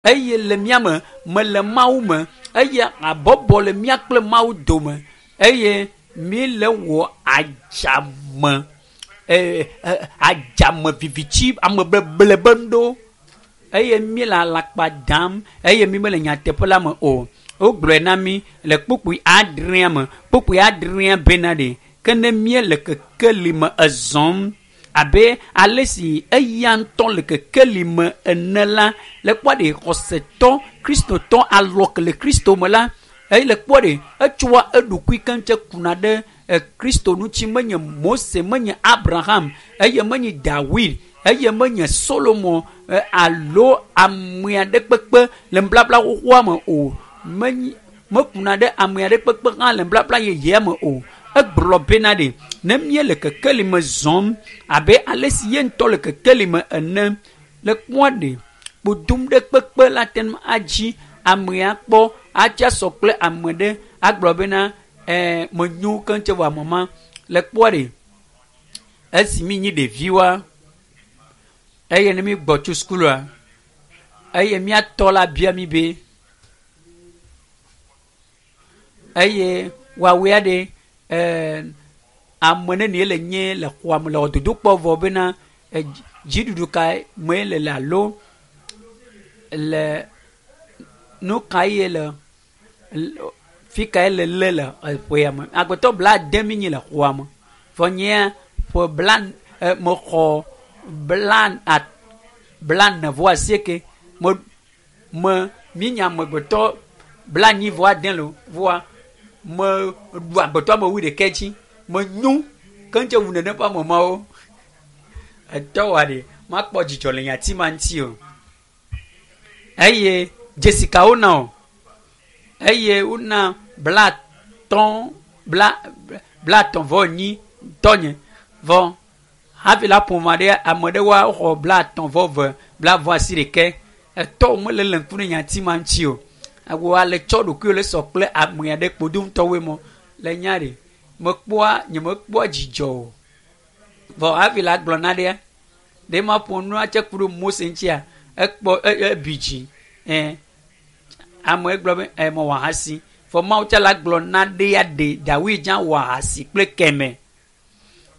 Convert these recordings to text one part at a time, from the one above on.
Eye le mía me, mele Mawu me, eye habɔbɔ le mía kple Mawu dome, eye míele wɔ adzame, e, e, adzame viviti, amebeble be nuɖewo, eye míele alakpa dam, eye mí mele nyateƒe la me o. Wogblɔe na mí le kpukpui adrea me, kpukpui adrea bena ɖe, ke ne míele kekeli me ezɔm, abe ale si eya ŋutɔ le kekeli me ene la, le kpɔ ɖe xɔsetɔ kristotɔ alɔ ke le Kristo me la, eye le kpɔ ɖe etsoa eɖokui keŋ tse kuna ɖe e, Kristo ŋuti menye Mose, menye Abraham, eye menye Dawid, eye menye Solomon e, alo ame aɖe kpekpe le nubabla xoxoa me o. Menye mekuna ɖe ame aɖe kpekpe hã le nubabla yeyea me o. Egblɔ bena ɖe ne míele kekeli me zɔm abe ale si ye ŋutɔ le kekeli me ene le kpɔa ɖe kpodum ɖe kpekpe la te ŋu adzi amea kpɔ atsa sɔ kple ame ɖe agblɔ bena ɛɛ menyo keŋ tse vɔ ame ma le kpɔa ɖe esi mi nyi ɖeviwoa eye ne mi gbɔ tso sukulua eye míatɔ la bia mi be eye woawoe ɖe ɛɛ ame nenie le nye le xɔa me le dodokpɔ vɔ bena dziɖuɖu ka me le le alo le nu ka ye le fi kae le le le eƒea me. Agbetɔ blaade mi nyi le xɔa me. Vɔ nyea ƒe bla mexɔ bla a blaene vɔ asieke. Me me mi nye amegbetɔ blaenyi vɔ ade lo vɔa meɖu agbetɔ ame wuiɖekɛ dzi. Menyo keŋ tse wu nene ƒe ame mawo. Etɔ wa ɖe makpɔ dzidzɔ le nyati ma ŋuti o. Eye dzesi ka wona o? Eye wona blatɔ̃ bla blatɔ̃ vɔ enyi tɔnye vɔ hafi la ƒome aɖe ame ɖewoa woxɔ blatɔ̃ vɔ eve bla vɔ asi ɖekɛ. Etɔwo mele le ŋku ɖe nyati ma ŋuti o. Wò ale tsɔ ɖokuiwò le sɔ kple ame aɖe kpodoŋutɔwoe mɔ le nya ɖe mekpɔa nye mekpɔa dzidzɔ o. Vɔ hafi la gblɔ na ɖea ɖe ma ƒo nua tse ku ɖe Mose ŋutia ekpɔ ebi dzi ɛ ame gblɔ be ɛ mewɔ ahasi vɔ Mawu tse la gblɔ na ɖea ɖe Dawid dza wɔ ahasi kple kɛmɛ.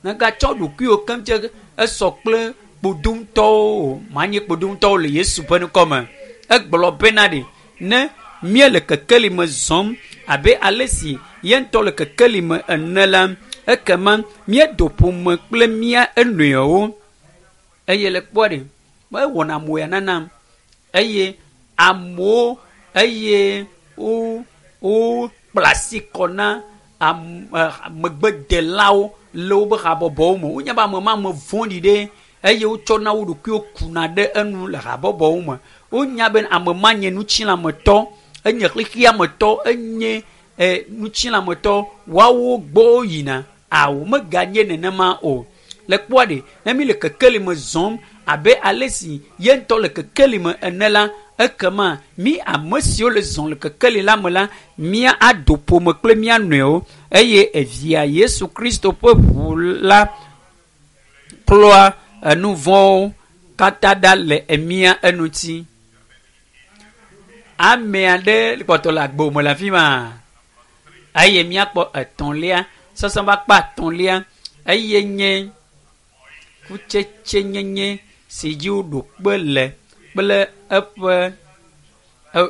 Megatsɔ ɖokuiwò keŋ tse esɔ kple kpodoŋutɔwo o manye kpodoŋutɔwo le Yesu ƒe ŋkɔ me. Egblɔ bena ɖe ne míele kekeli me zɔm abe ale si ye ŋutɔ le kekeli me ene la ekema míedo ƒome kple mía enɔewo eye le kpɔ ɖe mewɔna moya nanam eye amewo eye wo wokpla asi kɔ na ame megbedelawo le woƒe habɔbɔwo me. Wonya be ame ma ame vɔ̃ɖi ɖe eye wotsɔna wo ɖokuiwo kuna ɖe enu le habɔbɔwo me. Wonya be ame ma nye ŋutilãmetɔ, enye xexeametɔ, enye e ŋutilãmetɔ woawo gbɔ yina. Awo meganye nenema o. Le kpɔa ɖe ne mi le kekeli me zɔm abe ale si ye ŋutɔ le kekeli me ene la ekema mi ame siwo le zɔm le kekeli la me la mía ado ƒome kple mía nɔewo eye evia Yesu Kristo ƒe ʋu la klɔa enu vɔ̃wo katã ɖa le emía eŋuti. Ame aɖe kpɔtɔ le agbo me le afi ma eye míakpɔ etɔ̃lia sɔsɔ ƒe akpa etɔ̃lia eye nye kutsetsenyenye si dzi woɖo kpe le kple eƒe e,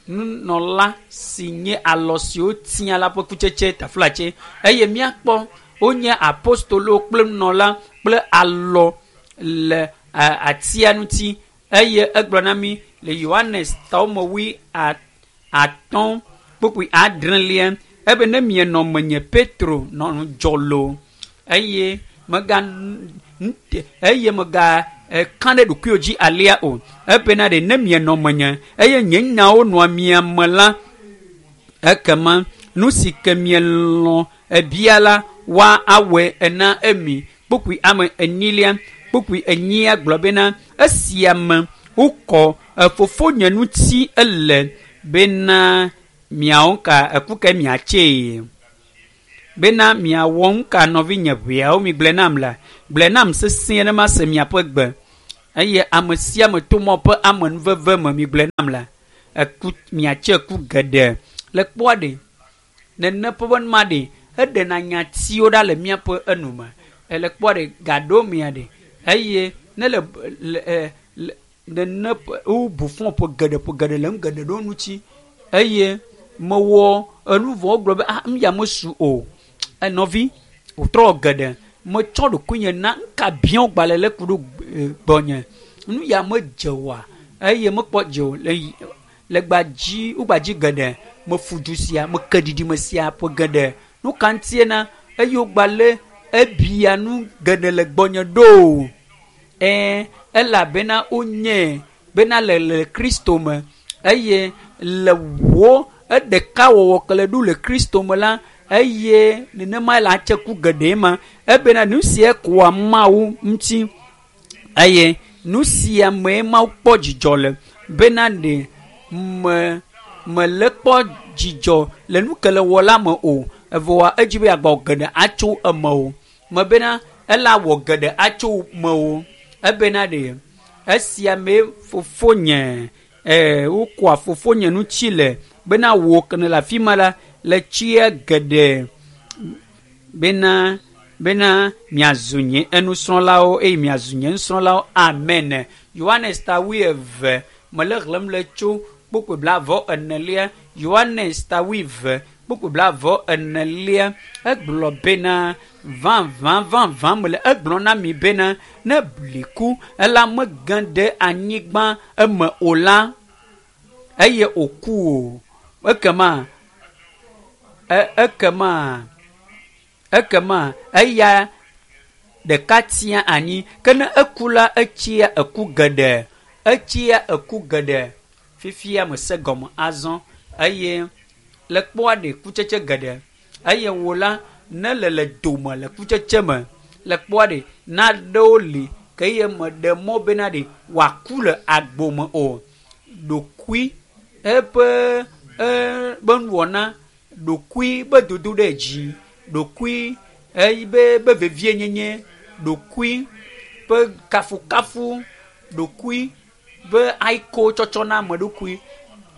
nunɔla si nye alɔ si wotia la ƒe kutsetse taflatse eye míakpɔ wonye apostolowo kple nunɔla kple alɔ le atia ŋuti eye egblɔ na mí le Yohanes tawome wui atɔ̃ kpukpui adrelia ebe ne mienɔ menye Petro nɔ ŋudzɔ loo eye mega eye mega ka ɖe ɖokuiwò dzi alea o ebena ɖe ne mienɔ menye eye nye nyawo nɔa mia me la ekema nu si ke mielɔ̃ ebia la woa awɔe ena emi kpukpui ame enyilia kpukpui enyia gblɔ bena esia me wokɔ fofonye ŋuti ele bena miawo ka eku ke miatsee bena miawɔ nu ka nɔvinye ʋeawo mi gblɔe nam la gblɔe nam sesĩe ne mase miaƒe gbe. Eye ame sia ame to mɔ ƒe amenuveve me migblɔe nam la, eku miatse ku geɖe. Le kpɔa ɖe, nene ƒe be numa ɖe, eɖena nyatiwo ɖa le míaƒe enu me. Ele kpɔa ɖe gaɖo mia ɖe eye ne le le le nene ƒe wobu fɔ ƒe geɖe ƒe geɖe le nu geɖe ɖewo ŋuti eye mewɔ enu vɔ wogblɔ be ah nu ya mesu o. Enɔvi wòtrɔ geɖe metsɔ ɖokuinye na nuka biã gbalẽ le ku ɖo gbɔnye nu ya medze oa eye mekpɔ dze o le le gbadzi wogbadzi geɖe mefu du sia meke ɖiɖime sia ƒe geɖe nu ka ŋutie na eye wogbalẽ ebia nu geɖe le gbɔnye ɖo ɛɛ elabena wonye bena le le Kristo me eye le wo eɖeka wɔwɔ ke le ɖo le Kristo me la eye nenema le atse ku geɖe ma ebena nu sia koa Mawu ŋuti eye nu sia mee Mawu kpɔ dzidzɔ le bena ɖe me mele kpɔ dzidzɔ le nu ke le wɔ la me o evɔa edzi be yeagbɔ geɖe atso eme o me bena ela wɔ geɖe atso me o ebena ɖe esia mee fofonye wokɔa fofonye ŋuti le bena wò ke ne le afi ma la le tsia geɖe bena bena miazu nye enusrɔ̃lawo eye miazu nye nusrɔ̃lawo amen. Yohanes ta wuieve mele xlẽm le tso kpukpui blaeve enelia Yohanes ta wuieve kpukpui blaeve enelia egblɔ bena vavã vavã mele egblɔ na mi bena ne bliku ela mege ɖe anyigba eme o la eye wòku o ekema ekema ekema eya ɖeka tia anyi ke ne eku la etsia eku geɖe etsia eku geɖe fifia mese gɔme azɔ eye le kpɔa ɖe kutsetse geɖe eye wò la ne le le dome le kutsetse me le kpɔa ɖe naɖewo li ke eye meɖe mɔ bena ɖe wòaku le agbo me o ɖokui eƒe be nuwɔna ɖokui be dodo ɖe dzi ɖokui eye be be vevienyenye ɖokui ƒe kafukafu ɖokui be ayiko tsɔtsɔ na ame ɖokui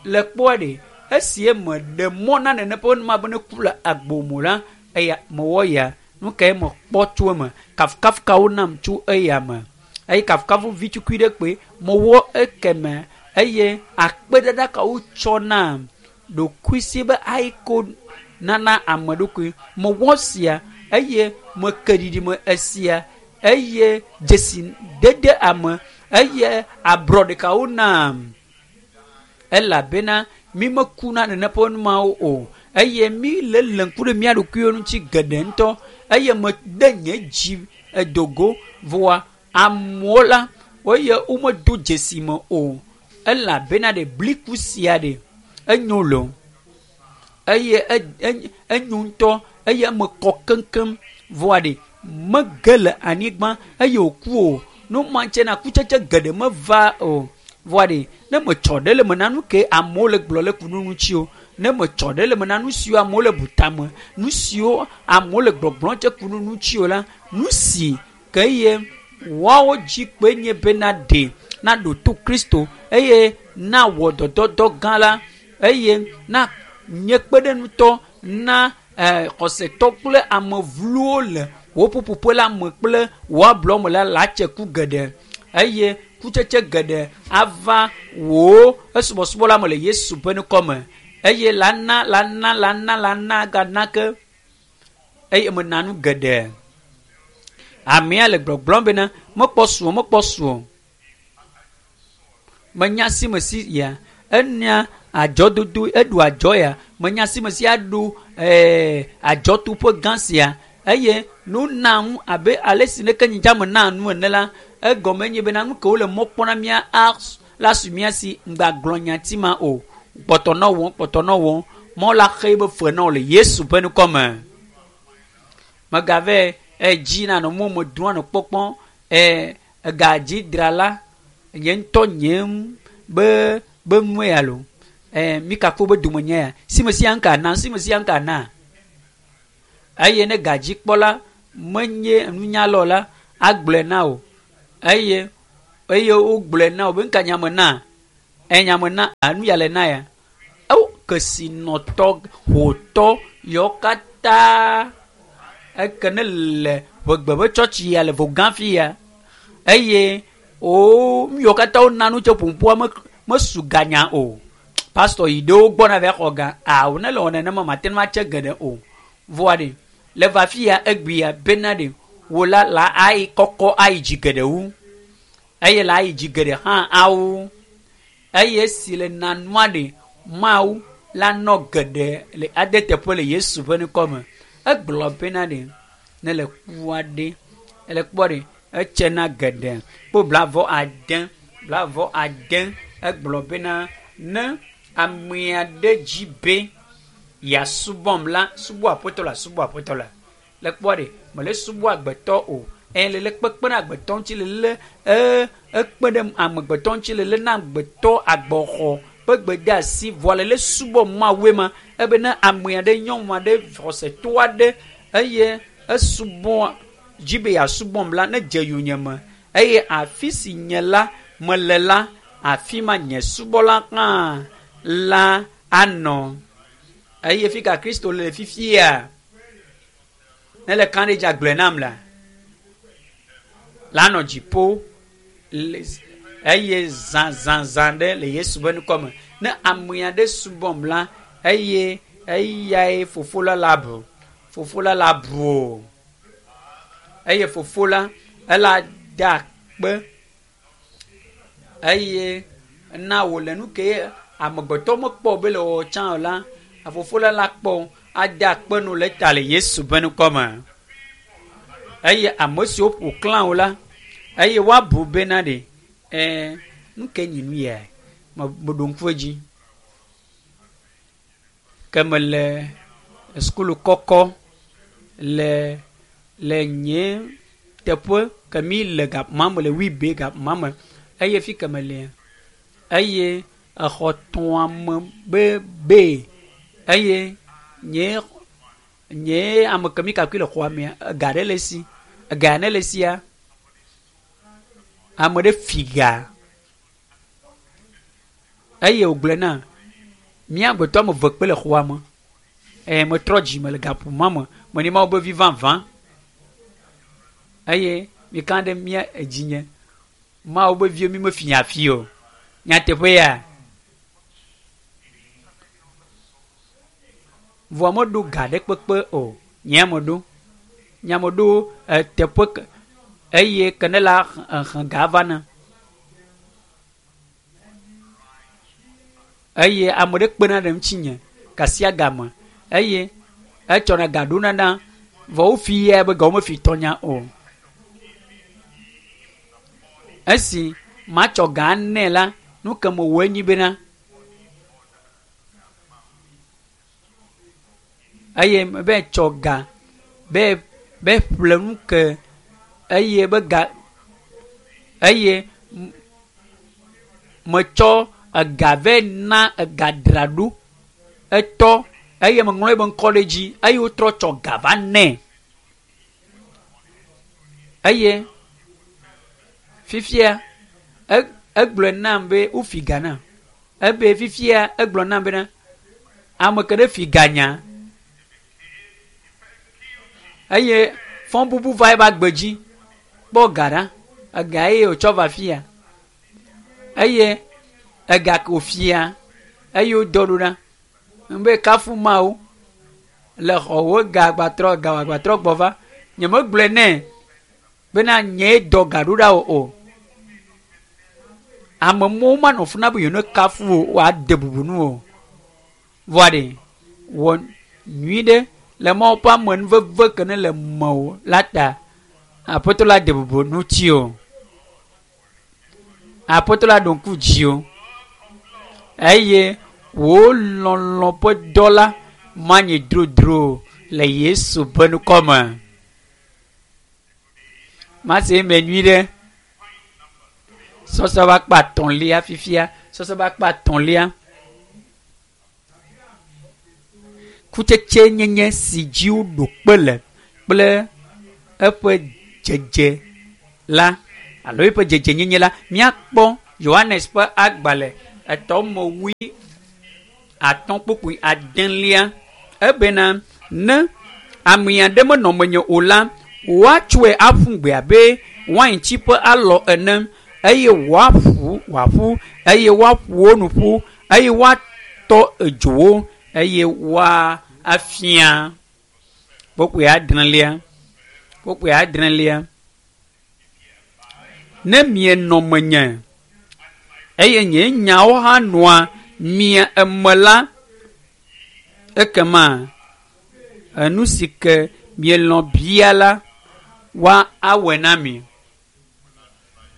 le kpɔa ɖe esi meɖe mɔ na nene ƒe numa be ne ku le agbo me la eya mewɔ ya nu kae mekpɔ tso eme kafukafu kawo nam tso eya me eye kafukafu vi tukui ɖe kpoe mewɔ ekeme eye akpedada kawo tsɔ nam ɖokuisi be ayiko nana ame ɖokui mewɔ sia eye meke ɖiɖime esia eye dzesi dede ame eye abrɔ ɖekawo nam elabena mi mekuna nene ƒe numawo o eye mi le le ŋku ɖe mía ɖokuiwo ŋuti geɖe ŋutɔ eye mede nye dzi edogo vɔa amewo la woye womedo dzesi me o elabena ɖe bliku sia ɖe enyo lo eye enyo ŋutɔ eye eme kɔ keŋkeŋ vɔa ɖe mege le anyigba eye wòku o nu ma ŋuti na kutsetse geɖe meva o vɔa ɖe ne metsɔ ɖe le me na nu ke amewo le gblɔ le ku nu ŋuti o ne metsɔ ɖe le me na nu siwo amewo le bu tame nu siwo amewo le gbɔgblɔm tse ku nu ŋuti o la nu si ke ye woawo dzi kpe nye bena ɖe naɖo to Kristo eye nawɔ dɔdɔdɔ gã la eye na nye kpeɖeŋutɔ na xɔsetɔ kple ame vlowo le wò ƒuƒoƒe la me kple wò ablɔ me la la tse ku geɖe eye kutsetse geɖe ava wò esubɔsubɔ la me le Yesu ƒe ŋkɔ me eye la na la na la na la na gana ke eye mena nu geɖe. Amea le gbɔgblɔm bena mekpɔ su o mekpɔ su o menya si me si ya enya adzɔdodo eɖu adzɔ ya menya si me si aɖu adzɔtuƒe gã sia eye nu na ŋu abe ale si neke nyidza me na nu ene la egɔme nye bena nu ke wole mɔ kpɔm na mía la su mía si ŋgagblɔ nyati ma o kpɔtɔ nɔ wɔm kpɔtɔ nɔ wɔm mɔ la xe be fe na wo le Yesu ƒe ŋkɔ me megave edzi na nɔ mɔ me doa nɔ kpɔkpɔm egadzidra nye ŋutɔ nye be be nue ya lo mi kakpo be dome nye ya si me sia ŋka na si me sia ŋka na eye ne gadzikpɔla menye nunyala o la agblɔe na o eye eye wogblɔe na wò be nuka nya me na? Enya me na enu ya le na ya. Ewo kesinɔtɔ hotɔ yawo katã eke ne le ʋegbe ƒe tsɔtsi ya le vogã fi ya eye wo nu yawo katã wona nu tso ƒoƒoa me mesu ganya o. Pastor yi ɖewo gbɔ na va xɔ ga awo ne le wɔ nenema mate ŋu atse geɖe o. Vɔa ɖe le va fi ya egbea bena ɖe wò la la ayi kɔkɔ ayi dzi geɖe wu eye la ayi dzi geɖe hã awu eye esi le nanua ɖe Mawu la nɔ geɖe le ade teƒe le Yesu ƒe ŋkɔ me. Egblɔ bena ɖe ne le kua ɖe ele kpɔ ɖe etsena geɖe kpo 80 egblɔ bena ne amea ɖe dzi be yeasubɔm la subɔ aƒetɔ la subɔ aƒetɔ la le kpɔ ɖe mele subɔ agbetɔ o eye le kpekpe ɖe agbetɔ ŋuti le lé ee ekpe ɖe amegbetɔ ŋuti le lé na agbetɔ agbɔxɔ ƒe gbedeasi vɔa le lé subɔ Mawue ma ebe ne amea ɖe nyɔnu aɖe xɔsetɔ aɖe eye esubɔ dzi be yeasubɔm la ne dze yonyeme eye afi si nye la mele la afi ma nye subɔla hã la anɔ eye fi ka Kristo le fifia ne le ka ɖe dzi agblɔe nam la la nɔ dziƒo eye zãzãzã ɖe le Yesu ƒe ŋkɔ me. Ne amea ɖe subɔm la eye eyae fofo la la bu fofo la la bu o eye fofo la ela da akpe eye na wòle nu ke amegbetɔ mekpɔ be le wɔwɔ tsã o la fofo la la kpɔ ade akpe nu le ta le Yesu ƒe ŋkɔ me. Eye ame siwo ƒo xlã wo la eye woabu bena ɖe ɛɛ nu ke nyi nu ya meɖo ŋku edzi ke mele sukulu kɔkɔ le le nye teƒe ke mi le gakuma me le Wibe gakuma me eye fi ke melea eye exɔ tɔa me be be eye nye nye ame ke mi kakui le xɔa mea ega ɖe le esi ega ne le esia ame ɖe fi ga eye wògblɔe na mía agbetɔ ame eve kpe le xɔa me eye metrɔ dzime le gaƒoƒo me menye Mawu be vi vavã eye mika ɖe mía edzinye Mawu be viwo mi mefi afi o nyateƒe ya vɔa meɖo ga ɖe kpekpe o nye meɖo nye meɖo eteƒe ke eye ke ne la xlẽ ga va na eye ame ɖe kpena ɖe ŋutinye gasiagame eye etsɔna ga ɖona na vɔ wofi ya be ga womefi tɔnya o. Esi matsɔ ga nɛ la nu ke mewɔe nyi bena eye be tsɔ ga be be ƒle nu ke eye be ga eye metsɔ ega vɛ na ega dzra ɖo etɔ eye meŋlɔ ebe ŋkɔ ɖe edzi eye wotrɔ tsɔ ga va nɛ eye fifia egblɔe nam be wofi ga nam ebe fifia egblɔ nam bena ame ke ɖe fi ga nya eye fɔbubu va ebe agbe dzi kpɔ ga ɖa ega eye wòtsɔ va fia eye ega ke wòfia eye wodɔ ɖo ɖa be kafu Mawu le xɔwò ga gbatrɔ ga gbatrɔ gbɔ va nyemegblɔe nɛ bena nyee dɔ ga ɖo ɖa o o ame mɔwo manɔ fu na be yewo ne kafu o woade bubu nu o vɔa ɖe wɔ nyui ɖe le Mawu ƒe amenuveve ke ne le mewò la ta aƒetɔ la de bubu ŋuti o aƒetɔ la ɖo ŋku dzi o eye wò lɔlɔ ƒe dɔ la manyi drodro le Yesu ƒe ŋkɔ me. Mase eme nyui ɖe. Sɔsɔ va kpa etɔ̃lia fifia. Sɔsɔ va kpa etɔ̃lia. Kutsetse nyenye si dzi woɖo kpe le kple eƒe dzedze la. alo eƒe dzedzenyenye la, míakpɔ Yohanes ƒe agbalẽ etɔ me wui atɔ̃ kpukpui adelia ebena ne ame aɖe menɔ menye o la, woatsɔe aƒu gbe abe waintsi ƒe alɔ ene eye woaƒu wòaƒu eye woaƒo wo nu ƒu eye woatɔ edzowo eye woafia. Kpukpui adrelia kpukpui adrelia ne mienɔ menye eye nye nyawo hã nɔa mia eme la, ekema enu si ke mielɔ̃ bia la, woawɔe na mi.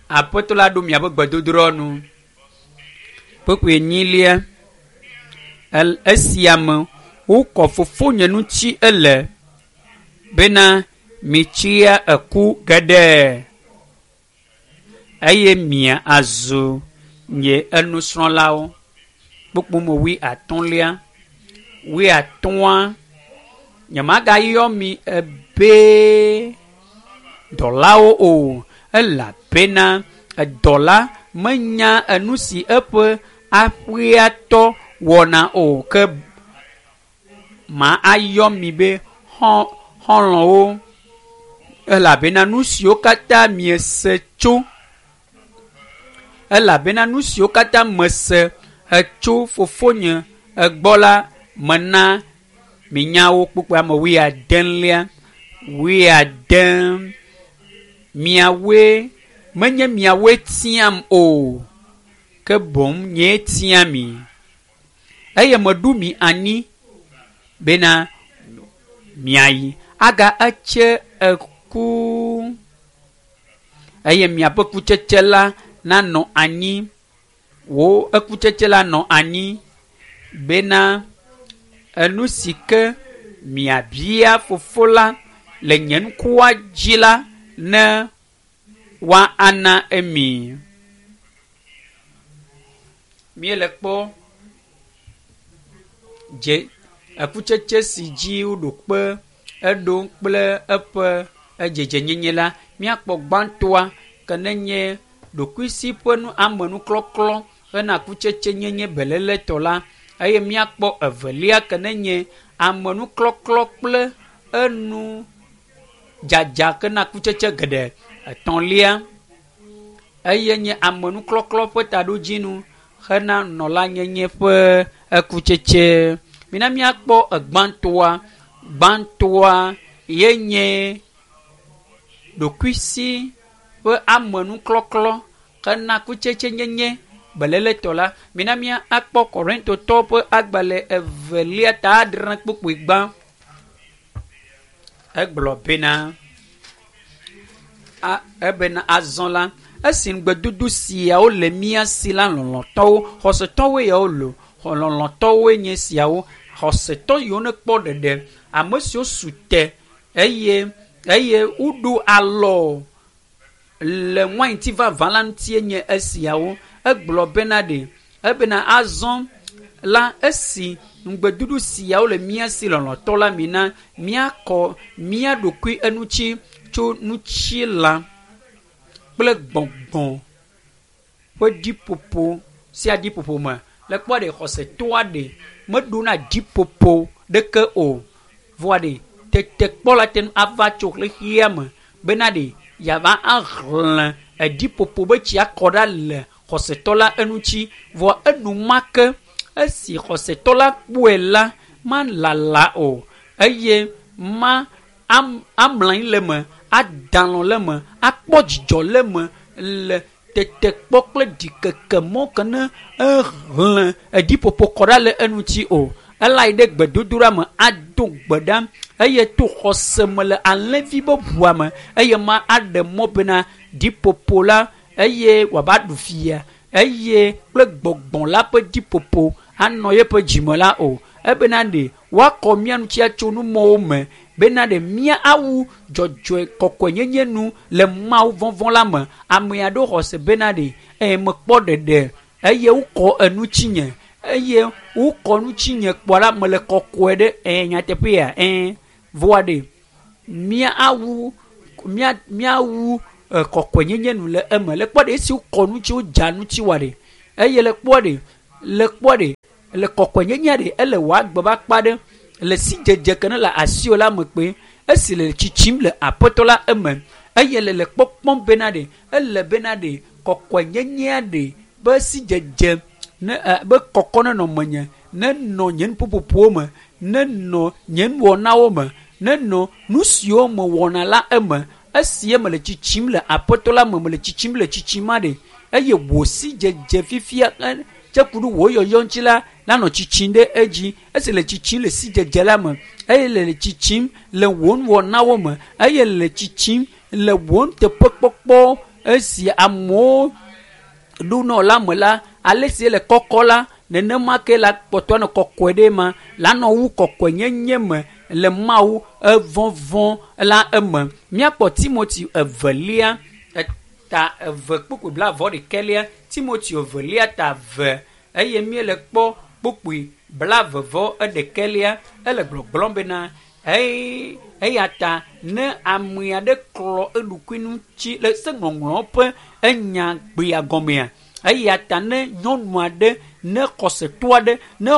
Aƒetɔ la ɖo miaƒe gbedodoɖa nu. Kpukpui enyilia el esia me wokɔ fofonye ŋuti ele bena mitsia eku geɖe eye mia azu nye enusrɔ̃lawo. Kpukpui me wui atɔ̃lia wui atɔ̃a nyemagayɔ mi ebe dɔlawo o elabena edɔla menya enu si eƒe aƒeatɔ wɔna o ke ma ayɔ mi be xɔ xɔlɔ̃wo elabena nu siwo katã miese tso elabena nu siwo katã mese etso fofonye egbɔ la mena minya wo kpukpui ame wuiadelia wuiade miawoe menye miawoe tiam o ke boŋ nyee tia mi eye meɖo mi anyi bena miayi aga etse eku eye miaƒe kutsetse la nanɔ anyi wò ekutsetse la nɔ anyi bena enu si ke miabia fofo la le nye ŋkua dzi la ne woana emi. Míele kpɔ dze ekutsetse si dzi woɖo kpe eɖo kple eƒe edzedzenyenye la, míakpɔ gbãtɔa ke nenye ɖokuisi ƒe nu amenuklɔklɔ hena kutsetsenyenye beléletɔ la eye míakpɔ evelia ke nenye amenuklɔklɔ kple enu dzadza kena kutsetse geɖe. Etɔ̃lia eye nye amenuklɔklɔ ƒe taɖodzinu hena nɔlanyenye ƒe ekutsetse. Mina míakpɔ egbãtɔa. Gbãtɔa ye nye ɖokuisi ƒe amenuklɔklɔ hena kutsetsenyenye beléletɔ la. Mina míakpɔ Korintotɔwo ƒe agbalẽ evelia ta adre kpukpui gbã. Egblɔ bena a ebena azɔ la esi ŋugbedodo siawo le mía si la lɔlɔ̃tɔwo xɔsetɔwoe yawo lo lɔlɔ̃tɔwoe nye siawo xɔsetɔ yiwo nekpɔ ɖeɖe ame siwo su te eye eye woɖo alɔ le wainti vavã la ŋutie nye esiawo. Egblɔ bena ɖe ebena azɔ la esi ŋugbedodo siawo le mía si lɔlɔ̃tɔ la mina míakɔ mía ɖokui eŋuti tso ŋutilã kple gbɔgbɔ ƒe ɖiƒoƒo sia ɖiƒoƒo me. Le kpɔ ɖe xɔsetɔa ɖe meɖona ɖiƒoƒo ɖeke o. Vɔa ɖe tetekpɔ la te ŋu ava tso xexea me bena ɖe yeava ahlẽ eɖiƒoƒo be tsi akɔ ɖa le xɔsetɔ la eŋuti. Vɔa enumake esi xɔsetɔ la kpɔe la malala o eye ma am amlɔ anyi le eme, ada alɔ̃ le eme, akpɔ dzidzɔ le eme le tetekpɔ kple ɖikeke mɔ ke ne ehlẽ eɖiƒoƒo kɔ ɖa le eŋuti o. Ela yi ɖe gbedodoɖa me ado gbe ɖa eye to xɔse me le alẽvi be ʋua me eye ma aɖe mɔ bena ɖiƒoƒo la eye wòava ɖu fia eye kple gbɔgbɔ la ƒe ɖiƒoƒo anɔ yeƒe dzime la o. Ebena ɖe woakɔ mía ŋuti atso numɔwo me bena ɖe mía awu dzɔdzɔe kɔkɔenyenye nu le Mawu vɔvɔ̃ la me. Ame aɖewo xɔ se bena ɖe eye mekpɔ ɖeɖe eye wokɔ eŋutinye eye wokɔ ŋutinye kpɔ la mele kɔkɔe ɖe ɛ nyateƒea ɛ vɔa ɖe mía awu mía míawu Kɔkɔenyenye nu le eme. Le kpɔ ɖe esi wokɔ ŋuti wodza ŋuti wa ɖe eye le kpɔ ɖe le kpɔ ɖe le kɔkɔenyenye ɖe ele wò agbe be akpa ɖe le sidzedze ke ne le asiwò la me kpe esi le tsitsim le aƒetɔ la eme eye le le kpɔkpɔm bena ɖe ele bena ɖe kɔkɔenyenyea ɖe be sidzedze ne be kɔkɔ nenɔ menye nenɔ nye nuƒoƒoƒowo me nenɔ nye nuwɔnawo me nenɔ nu siwo mewɔna la eme esi mele tsitsim le aƒetɔ la me mele tsitsim le tsitsim ma ɖe eye wò sidzedze fifia tse ku ɖe wò yɔyɔ ŋuti la lanɔ tsitsim ɖe edzi esi le tsitsim le sidzedze la me eye le tsitsim le wò nuwɔnawo me eye le tsitsim le wò nuteƒekpɔkpɔ esi amewo ɖonɔ la me la ale si le kɔkɔ la nenema ke la kpɔtɔ nɔ kɔkɔe ɖe ma lanɔ wu kɔkɔenyenye me le Mawu evɔvɔ la eme. Míakpɔ Timoteo evelia ta 2 kpukpui 21 Timoteo evelia ta 2 eye míele kpɔ kpukpui 21 ele gbɔgblɔm bena eya ta ne ame aɖe klɔ eɖokui ŋuti le se ŋɔŋlɔ ƒe enya gbea gɔmea eya ta ne nyɔnu aɖe ne xɔsetɔ aɖe ne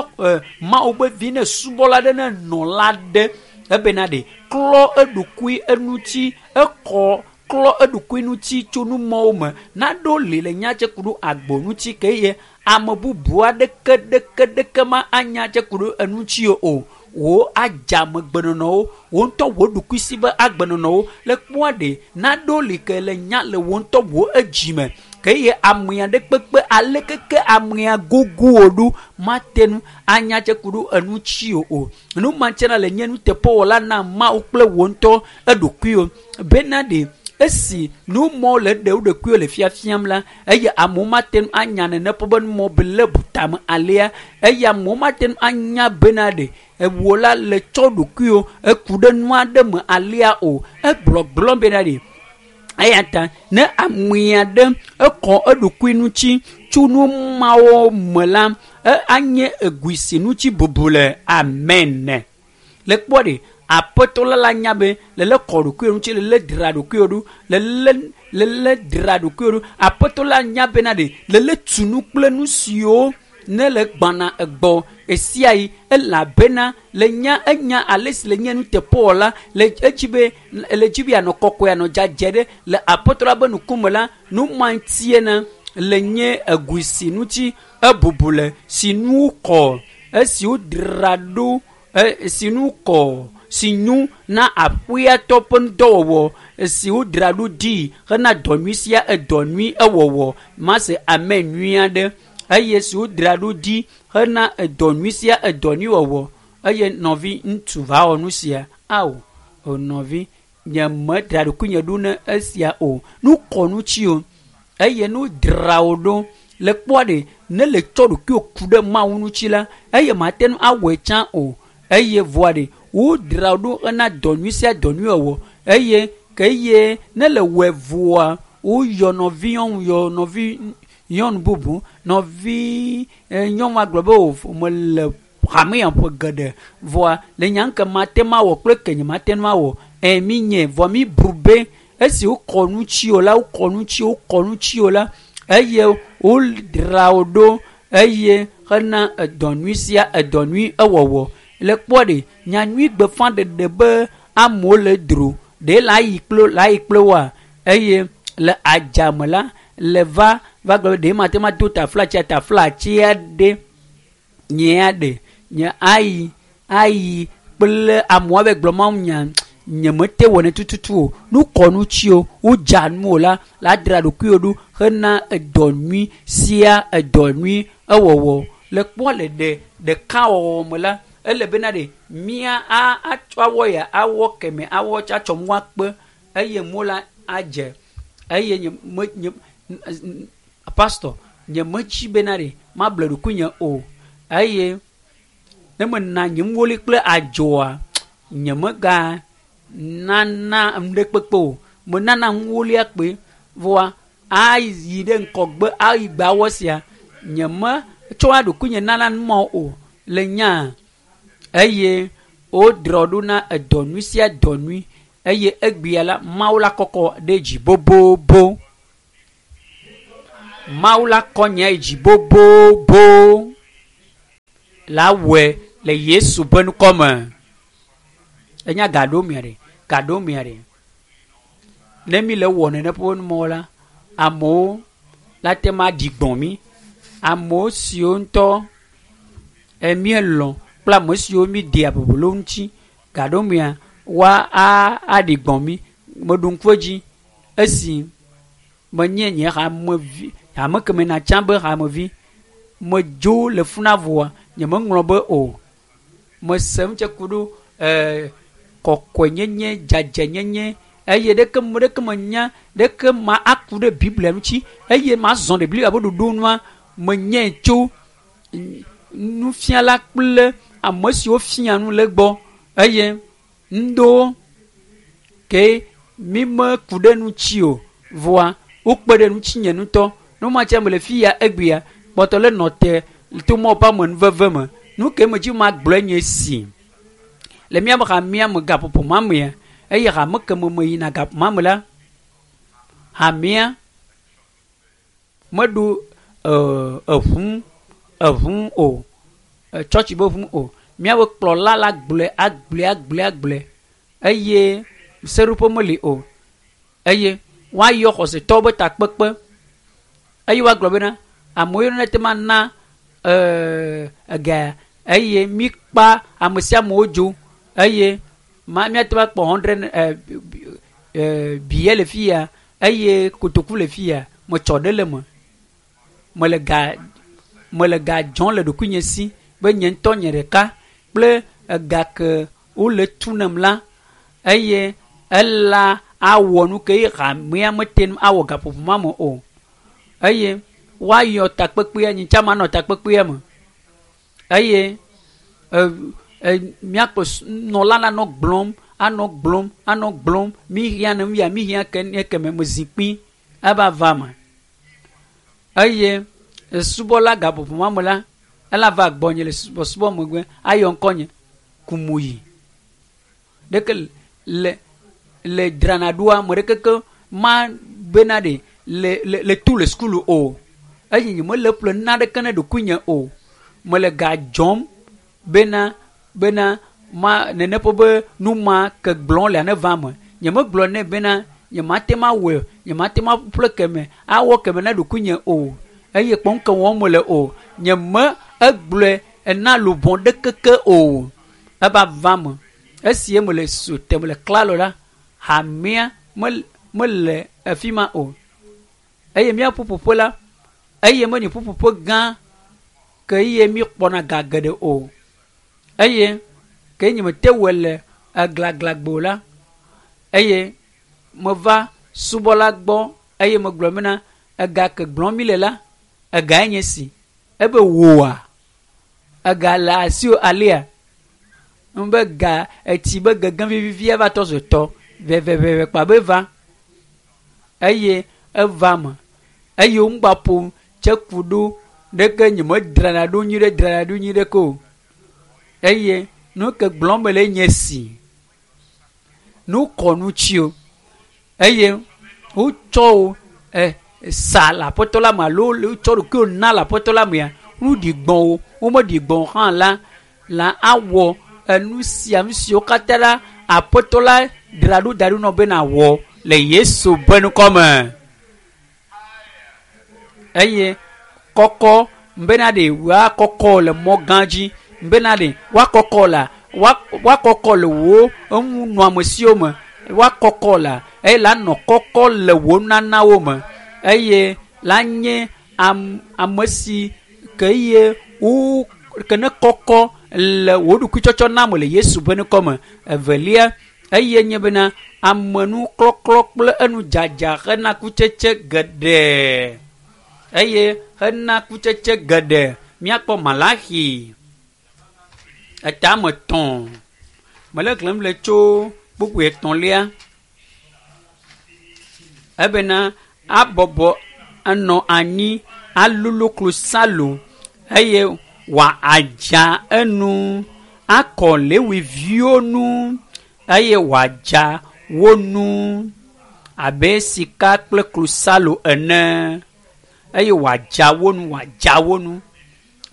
Mawu be vi ne subɔla aɖe ne nɔla aɖe ebena ɖe klɔ eɖokui eŋuti ekɔ klɔ eɖokui ŋuti tso numɔwo me naɖo li le nya tse ku ɖo agbo ŋuti ke eye ame bubu aɖeke ɖeke ɖeke ma anya tse ku ɖo eŋuti o wò adzamegbenɔnɔwo wò ŋutɔ wò ɖokuisi be agbenɔnɔwo le kpɔa ɖe naɖo li ke le nya le wò ŋutɔ wò edzime ke eye amea ɖe kpekpe alekeke amea gogo wò ɖo mate ŋu anya tse ku ɖo eŋuti o nu ma tsena le nye nuteƒewɔla na Mawu kple wò ŋutɔ eɖokuiwo bena ɖe esi numɔ le ɖe wo ɖokuiwo le fiafiam la eye amewo mate ŋu anya nene ƒe be numɔ be le butame alea eye amewo mate ŋu anya bena ɖe ewò la le tsɔ ɖokuiwo eku ɖe nu aɖe me alea o egblɔgblɔm bena ɖe eya ta ne amea ɖe ekɔ eɖokui ŋuti tso nu mawo me la anye egui si ŋuti bubu le amen. Le kpɔ ɖe aƒetɔ la la nya be lele kɔ ɖokuiwo ŋuti lele dzra ɖokuiwo ɖo lele dzra ɖokuiwo ɖo aƒetɔ la nya bena ɖe lele tu nu kple nu siwo ne le gbana egbɔ esia yi elabena le nya enya ale si le nye nuteƒewɔla le edzi be le dzi be anɔ kɔkɔe anɔ dzadze ɖe le aƒetɔ la be ŋkume la nu ma ŋutie le nye egui si ŋuti ebubu le si nu kɔ esi wodzra ɖo si nu kɔ si nyo na aƒeatɔ ƒe ŋudɔwɔwɔ si wodzra ɖo ɖi hena dɔ nyui sia edɔ nyui ewɔwɔ mase ame nyui aɖe eye si wodzra ɖo ɖi hena edɔ nyui sia edɔ nyui wɔwɔ eye nɔvi ŋutsu va wɔ nu sia ao o nɔvi nye medzra ɖokuinye ɖo ne esia o nu kɔ ŋuti o eye nu dzra wo ɖo le kpɔa ɖe ne le tsɔ ɖokuiwò ku ɖe Mawu ŋuti la eye mate ŋu awɔe tsã o eye vɔa ɖe wodzra ɖo hena dɔ nyui sia dɔ nyui wɔwɔ eye ke eye ne le wɔe vɔa woyɔ nɔvi nyɔnu yɔ nɔvi nyɔnu bubu nɔvi nyɔnua gblɔ be o mele hamea ƒe geɖe vɔa le nya ŋke mate ŋu awɔ kple ke nye mate ŋu awɔ mi nye vɔ mi bu be esi wokɔ ŋuti o la wokɔ ŋuti wokɔ ŋuti o la eye wodzra wo ɖo eye hena edɔ nyui sia edɔ nyui ewɔwɔ le kpɔ ɖe nyanyui gbeƒãɖeɖe be amewo le dro ɖe la yi kple la yi kple woa eye le adzame la le va va gblɔ be ɖe mate ŋu ado taflatsia taflatsia ɖe nyea ɖe nye ayi ayi kple amewo be gblɔ Mawu nya nye mete wɔnɛ tututu o nu kɔ ŋuti o wodza nu o la la dzra ɖokuiwo ɖo hena edɔ nyui sia edɔ nyui ewɔwɔ le kpɔ le ɖe ɖekawɔwɔ me la ele bena ɖe mía atsɔ awɔ ya awɔ keme awɔ atsɔ mu akpe eye mo la adze eye nye me nye pastor nye metsi bena ɖe mable ɖokuinye o eye ne mena nye nuwoli kple adzɔa nye mega nana nu ɖe kpekpe o menana nuwolia kpe vɔa ayi ɖe ŋkɔgbe ayi gbe awɔ sia nye me tsɔa ɖokuinye nana numɔ o le nya eye wodrɔ ɖo na edɔ nyui sia dɔ nyui Eye egbea la, Mawu la kɔkɔ ɖe dzi bobobo. Mawu la kɔ nye dzi bobobo. La wɔe le Yesu ƒe ŋkɔ me. Enya gaɖo mia ɖe, gaɖo mia ɖe. Ne mi le wɔ nene ƒe numɔ la, amewo la te ma ɖi gbɔ̃ mi. Amewo siwo ŋutɔ emielɔ̃ kple ame siwo mi dea bubu le wo ŋuti gaɖo mia woa a aɖi gbɔ̃ mi. Meɖo ŋku edzi esi menye nye hamevi hame keme natsã be hamevi medzo le funa voa nyemeŋlɔ be o. Mese ŋutse ku ɖo kɔkɔenyenye, dzadzɛnyenye eye ɖeke ɖeke menya ɖeke ma aku ɖe Biblia ŋuti eye mazɔ ɖe Biblia ƒe ɖoɖo nua menyae tso nufiala kple ame siwo fia nu le gbɔ eye ŋdowo ke mi meku ɖe ŋuti o voa wokpe ɖe ŋutinye ŋutɔ. Nu ma tse mele fi ya egbea kpɔtɔ le nɔ te to Mawu ƒe amenuveve me. Nu ke me dzi magblɔe nye esi le míaƒe hamea me gaƒoƒo ma mea eye hame ke me meyina gaƒoƒo ma me la hamea meɖo eʋu eʋu o tsɔtsi be ʋu o. Míaƒe kplɔla la gblɔe agblɔe agblɔe agblɔe eye seɖoƒe meli o eye woayɔ xɔsetɔwo be takpekpe eye woagblɔ bena amewo ne te ma na ega eye mikpa ame sia amewo dzo eye ma míate ŋu akpɔ 100 biye le fi ya eye kotoku le fi ya metsɔ ɖe le me mele ga mele ga dzɔm le ɖokuinye si be nye ŋutɔ nye ɖeka kple ega ke wole tu nem la eye ela awɔ nu ke ye hamea mete ŋu awɔ gaƒoƒo ma me o eye woayɔ takpekpea nye tsã manɔ takpekpea me eye míaƒe nɔla la nɔ gblɔm anɔ gblɔm anɔ gblɔm mi hiã ne ya mi hiã ke ne keme me zikpui eva va me eye subɔla gaƒoƒo ma me la ela va gbɔnye le subɔsubɔ megbe ayɔ ŋkɔnye kumuyi ɖeke le le dzrana ɖoa ame ɖeke ke ma bena ɖe le le le tu le sukulu o eye nyemele ƒle naɖeke ne ɖokuinye o mele ga dzɔm bena bena ma nene ƒe be nu ma ke gblɔm le ne va me nyemegblɔ nɛ bena nyemate ma wɔe nyemate ma ƒle keme awɔ keme na ɖokuinye o eye kpɔm ke wɔm mele o nyeme egblɔe ena luʋɔ ɖekeke o eva va me esi mele su te mele klalo la hamea mele afi ma o eye mía ƒuƒoƒe la eye menye ƒuƒoƒe gã ke eye míkpɔna ga geɖe o eye ke nye mete wɔe le eglaglagbo la eye meva subɔla gbɔ eye megblɔ bena ega ke gblɔm mi le la egae nye si ebe wòa ega le asiwò alia be ga etsi be gege vivivi eva tɔ zu tɔ veveveve kpa be va eye eva me eye woŋgba ƒom tse ku ɖo ɖeke nyemedzrana ɖo nyuie ɖe dzrana ɖo nyuie ɖeke o eye nu ke gblɔm mele nye si nu kɔ ŋuti o eye wotsɔ wo sa le aƒetɔ la me alo wotsɔ ɖokuiwo na le aƒetɔ la mea nu ɖi gbɔ̃ wo womeɖi gbɔ̃ hã la la awɔ enu sia nu siwo katã la aƒetɔ la dzra ɖo da ɖo nɔ be nawɔ le Yesu ƒe ŋkɔ me eye kɔkɔ bena ɖe woakɔkɔ le mɔ gã dzi bena ɖe woakɔkɔ la woakɔkɔ le wò eŋunɔamesiwo me woakɔkɔ la eye la nɔ kɔkɔ le wò nanawo me eye la nye ame si ke ye wo ke ne kɔkɔ le wò ɖokuitsɔtsɔ na me le Yesu ƒe ŋkɔ me. Evelia eye nye bena amenuklɔklɔ kple enudzadza hena kutsetse geɖe eye hena kutsetse geɖe. Míakpɔ Malaxi etame 3 mele xlẽm le tso kpukpui etɔ̃lia ebena abɔbɔ enɔ anyi alulu klosalo eye wòadza enu akɔ Lewiviwo nu eye wòadza wo nu abe sika kple klosalo ene eye wòadza wo nu wòadza wo nu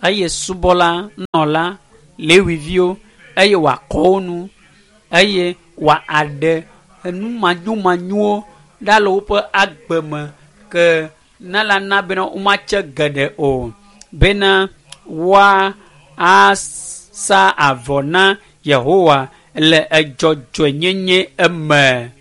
eye subɔla nɔla lewiviwo eye wòakɔ wo nu eye wòaɖe enu manyomanyowo ɖa le woƒe agbe me ke ne la na bena womatse geɖe o bena woa asa avɔ na Yehowa le edzɔdzɔenyenye eme.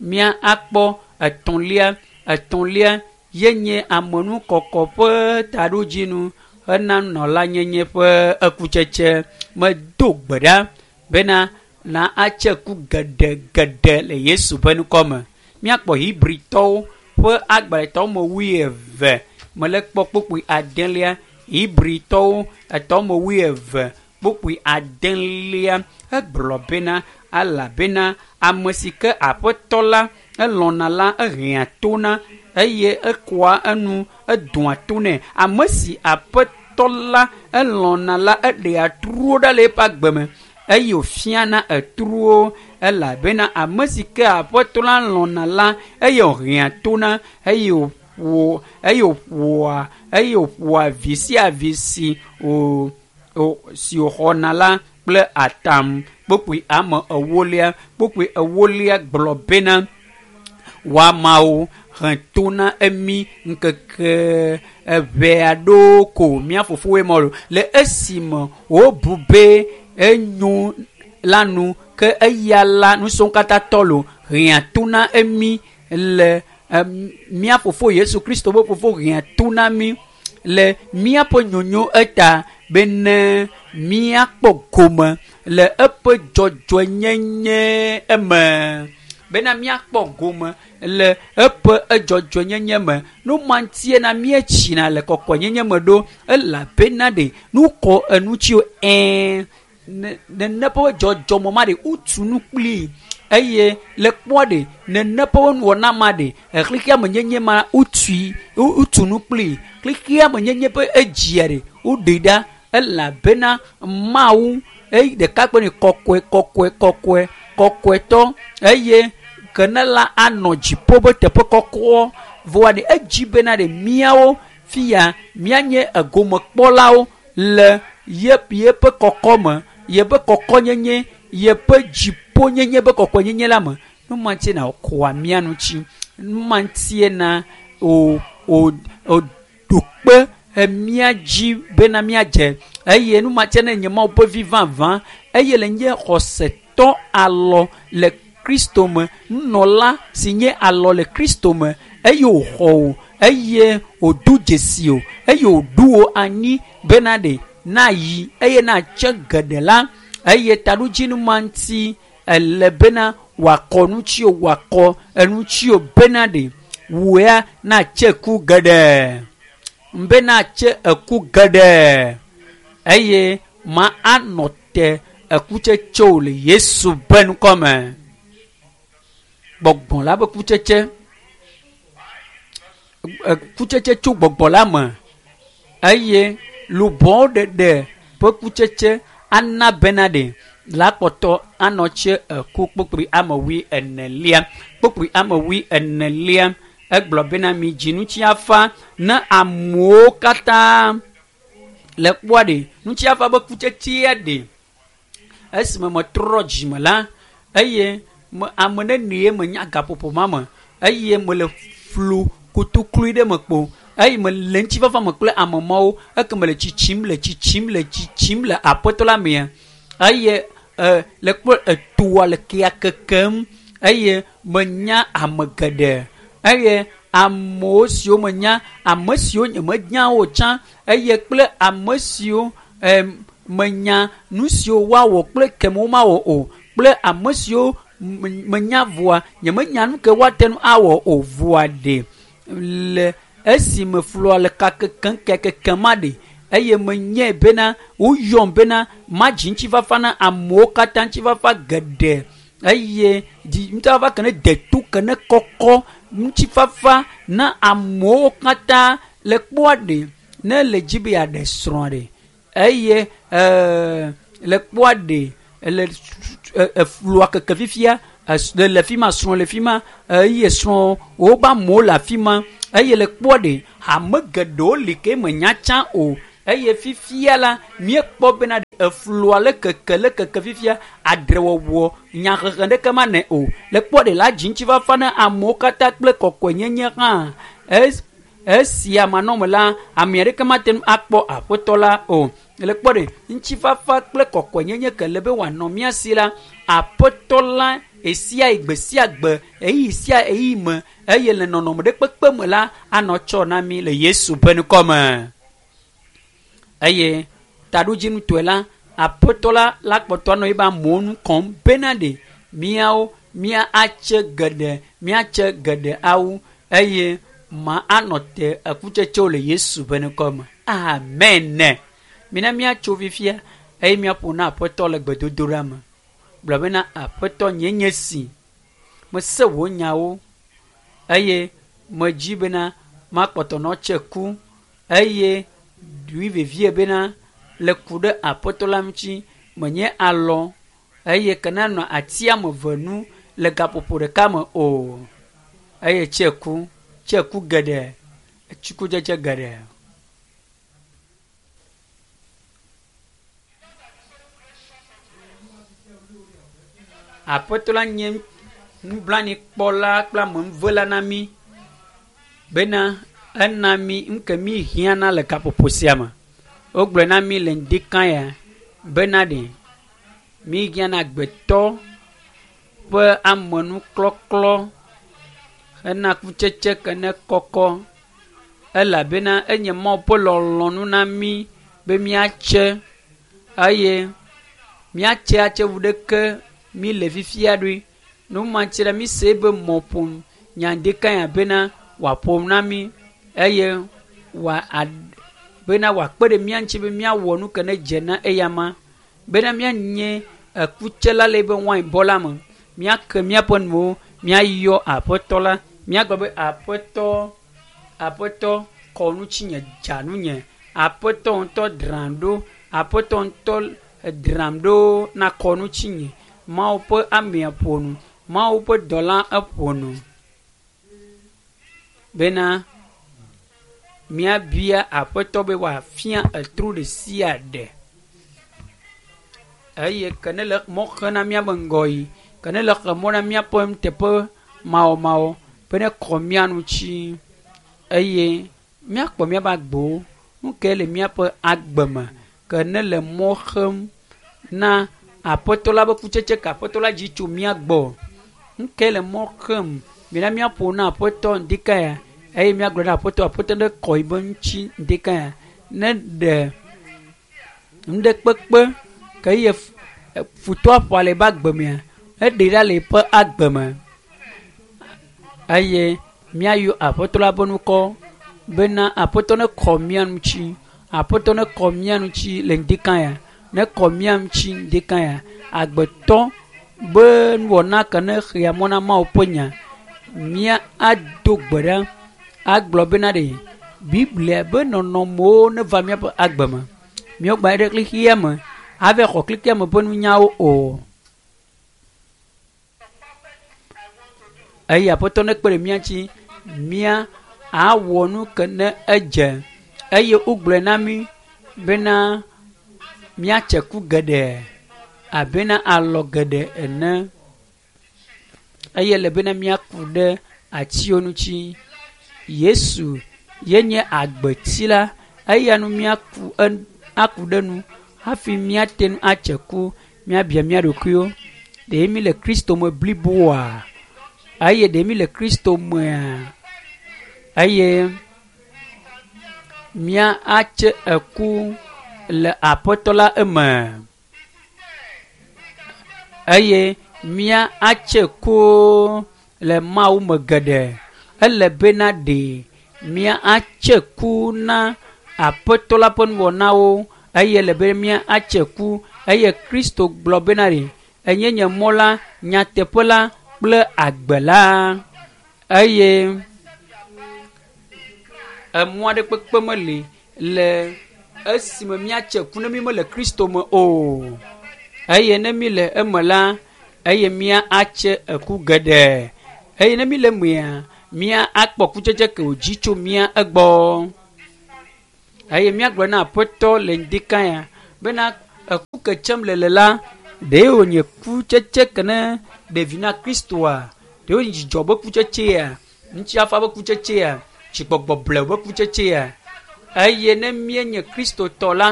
Mía akpɔ etɔ̃lia etɔ̃lia ye nye amenukɔkɔ ƒe taɖodzinu hena nɔlanyenye ƒe ekutsetse. Medo gbe ɖa bena na atse ku geɖe geɖe le Yesu ƒe ŋkɔ me. Míakpɔ Hebritɔwo ƒe agbalẽ me wuieve mele kpɔ kpukpui adelia. Hebritɔwo etɔ me wuieve kpukpui adelia egblɔ bena elabena ame si ke aƒetɔ la elɔ̃na la ehea to na eye ekoa enu edoa to nɛ. Ame si aƒetɔ la elɔ̃na la eɖea truwo ɖa le eƒe agbe me eye wòfiana etruwo elabena ame si ke aƒetɔ la lɔ̃na la eye wòhea to na eye wòƒo eye wòƒoa eye wòƒoa vi sia vi si wò si wòxɔna la kple atam. Kpukpui ame ewolia kpukpui ewolia gblɔ bena woamawo he to na emi ŋkeke eve aɖewo ko mía fofowoe mɔ le esime wobu be enyo la nu ke eya la nusrɔ̃wo katã tɔ lo hea to na emi le mía fofo Yesu Kristo ƒe fofo hea to na mí le míaƒe nyonyo eta bene míakpɔ gome le eƒe dzɔdzɔenyenye eme bena míakpɔ gome le eƒe edzɔdzɔenyenye me. Nu ma ŋutie na míetsina le kɔkɔenyenye me ɖo elabena ɖe nu kɔ enutsiwo ɛɛ nene ƒe dzɔdzɔme ma ɖe wotu nu kplii eye le kpɔa ɖe nene ƒe nuwɔna ma ɖe xexea me nyenye ma wotui wotu nu kplii xexea me nyenye ƒe edzia ɖe woɖe ɖa elabena Mawu eye ɖeka kpe ne kɔkɔe kɔkɔe kɔkɔe kɔkɔetɔ eye ke ne la anɔ dziƒo ƒe teƒe kɔkɔ vɔa ɖe edzi bena ɖe míawo fia míanye egomekpɔlawo le ye yeƒe kɔkɔme yeƒe kɔkɔnyenye yeƒe dziƒonyenye ƒe kɔkɔenyenye la me. Nu ma ŋutie na wòkɔa mía ŋuti. Nu ma ŋutie na wò wò wòɖo kpe mía dzi bena míadze eye nu ma ŋutie ne nye Mawu ƒe vi vavã eye le nye xɔsetɔ alɔ le Kristo me nunɔla si nye alɔ le Kristo me eye wòxɔ wò eye wòdo dzesi wò eye wòɖo wò anyi bena ɖe nayi eye natse geɖe la eye taɖodzinu ma ŋuti ele bena wòakɔ ŋutiwò wòakɔ eŋutiwò bena ɖe wò ya natse ku geɖe be natse eku geɖe eye ma anɔ te ekutsetsewo le Yesu ƒe ŋkɔ me. Gbɔgbɔ la ƒe kutsetse kutsetse tso gbɔgbɔ la me eye luʋɔwo ɖeɖe ƒe kutsetse ana bena ɖe la kpɔtɔ anɔ tse eku kpukpui ame wui enelia kpukpui ame wui enelia egblɔ bena mi dzi ŋutiafa ne amewo katã le kpɔa ɖe ŋutiafa ƒe kutsetsea ɖe esime metrɔ dzime la eye me ame nenie menya gaƒoƒo ma me eye mele flu kotoklui ɖe me kpo eye mele ŋutifafa me kple ame mawo eke mele tsitsim le tsitsim le tsitsim le aƒetɔ la mea eye le kpɔ etoa le kea kekem eye menya ame geɖe eye amewo siwo menya ame siwo nyemenya wo tsã eye kple ame siwo menya nu siwo woawɔ kple keme womawɔ o kple ame siwo menya voa nyemenya nu ke woate ŋu awɔ o voa ɖe le esime flua le ka kekem kekem ma ɖe eye menyae bena woyɔm bena madzi ŋutifafa na amewo katã ŋutifafa geɖe eye dzi ŋutifafa ke ne deto ke ne kɔkɔ ŋutifafa na amewo katã le kpɔa ɖe ne le dzi be yeaɖe srɔ̃ ɖe eye le kpɔa ɖe le eflua keke fifia Le fi ma, srɔ̃ le fi ma, eye srɔ̃ wobe amewo le afi ma eye le kpɔ ɖe hame geɖewo li ke menya tsã o eye fifia la míekpɔ bena eflua le keke le keke fifia adrewɔwɔ nyahehe ɖeke ma nɛ o le kpɔ ɖe la dzi ŋutifafa na amewo katã kple kɔkɔenyenye hã esia manɔme la ame aɖeke mate ŋu akpɔ aƒetɔ la o le kpɔ ɖe ŋutifafa kple kɔkɔenyenye ke le be wòanɔ mía si la aƒetɔ la esia gbe sia gbe eyi sia eyi me eye le nɔnɔme ɖe kpekpe me la anɔ tsɔ na mi le Yesu ƒe ŋkɔme. Eye taɖodzinutɔe la aƒetɔ la la kpɔtɔ anɔ ebe amewo nu kɔm bena ɖe míawo mía atse geɖe míatse geɖe awu eye ma anɔ te ekutsetsewo le Yesu ƒe ŋkɔme. Amen. Mina míatso fifia eye míaƒo na aƒetɔ le gbedodoɖa me. Gblɔ bena aƒetɔ nye nye si mese wò nyawo eye medzi bena makpɔtɔ nɔ tse ku eye ɖui vevie bena le ku ɖe aƒetɔ la ŋuti menye alɔ eye ke nanɔ ati ame eve nu le gaƒoƒo ɖeka me o eye tse ku geɖe tsikudzedze geɖe. Aƒetɔ la nye nublanuikpɔla kple amenuvela na mí bena ena mí nu ke mí hiãna le gaƒoƒo sia me. Wogblɔe na mí le ŋdi ya bena ɖe mí hiãna agbetɔ ƒe amenuklɔklɔ hena kutsetse ke ne kɔkɔ elabena enye Mawu ƒe lɔlɔ̃nu na mí be míatse eye míatse atse wu ɖeke mí le fifia ɖoe. Nu ma ŋuti la mí se be mɔƒonu nya ŋdi ya bena wòaƒo na mí eye wòa bena wòakpe ɖe mía ŋuti be míawɔ nu ke ne dze na eyama bena míanye ekutsela le ebe wainbɔ la me míake míaƒe nuwo míayɔ aƒetɔ la míagblɔ be aƒetɔ aƒetɔ kɔ ŋutinye dza nunye aƒetɔ ŋutɔ dram ɖo aƒetɔ ŋutɔ dram ɖo na kɔ ŋutinye Mawu ƒe amea ƒo nu Mawu ƒe dɔla eƒo nu bena míabia aƒetɔ be wòafia etro ɖe sia ɖe eye ke ne le mɔ xe na míabe ŋgɔyi ke ne le xe mɔ na míaƒe nuteƒe mawɔmawɔ be ne kɔ mía ŋuti eye míakpɔ míaƒe agbewo nu ke le míaƒe agbe me ke ne le mɔ xem na aƒetɔ la ƒe kutsetse ke aƒetɔ la dzi tso mía gbɔ nu ke le mɔ xem mina míaƒo na aƒetɔ ŋdi ya eye míagblɔ na aƒetɔ aƒetɔ ne kɔ yibe ŋuti ŋdi ya ne ɖe nu ɖe kpekpe ke ye futɔa ƒoa le eƒe agbe mea eɖe ɖa le eƒe agbe me eye míayɔ aƒetɔ la ƒe ŋkɔ bena aƒetɔ ne kɔ mía ŋuti aƒetɔ ne kɔ mía ŋuti le ŋdi ya ne kɔ mía ŋuti ŋdi ya agbetɔ be nuwɔna ke ne xea mɔ na Mawu ƒe nya mía ado gbe ɖa agblɔ bena ɖe Biblia be nɔnɔmewo ne va míaƒe agbe me míagba ɖe xexea me ava xɔ xexea me ƒe nunyawo o eye aƒetɔ ne kpe ɖe mía ŋuti mía awɔ nu ke ne edze eye wogblɔe na mí bena míatse ku geɖe abena alɔ geɖe ene eye le bena míaku ɖe atiwo ŋuti. Yesu ye nye agbeti la eya nu míaku aku ɖe nu hafi míate ŋu atse ku míabia mía ɖokuiwo ɖe mí le Kristo me bliboa eye ɖe mí le Kristo mea eye mía atse eku le aƒetɔ la eme eye mía atse ku le Mawu me geɖe ele bena ɖe mía atse ku na aƒetɔ la ƒe nuwɔnawo eye le be mía atse ku eye Kristo gblɔ bena ɖe enye nye mɔ la nyateƒe la kple agbe la eye emɔ aɖe kpekpe meli le esime míatse ku ne mí mele Kristo me o eye ne mí le eme la eye mía atse eku geɖe. Eye ne mi le mea, mía akpɔ kutsetse ke wòdzi tso mía egbɔ. Eye míagblɔ na aƒetɔ le ŋdika ya bena eku ke tsem le le la, ɖe wònye kutsetse ke ne ɖevi na Kristoa? Ɖe wònye dzidzɔ be kutsetsea? Ŋutifafa be kutsetsea? Dzigbɔgbɔ blewu be kutsetsea? Eye ne míenye Kristotɔ la,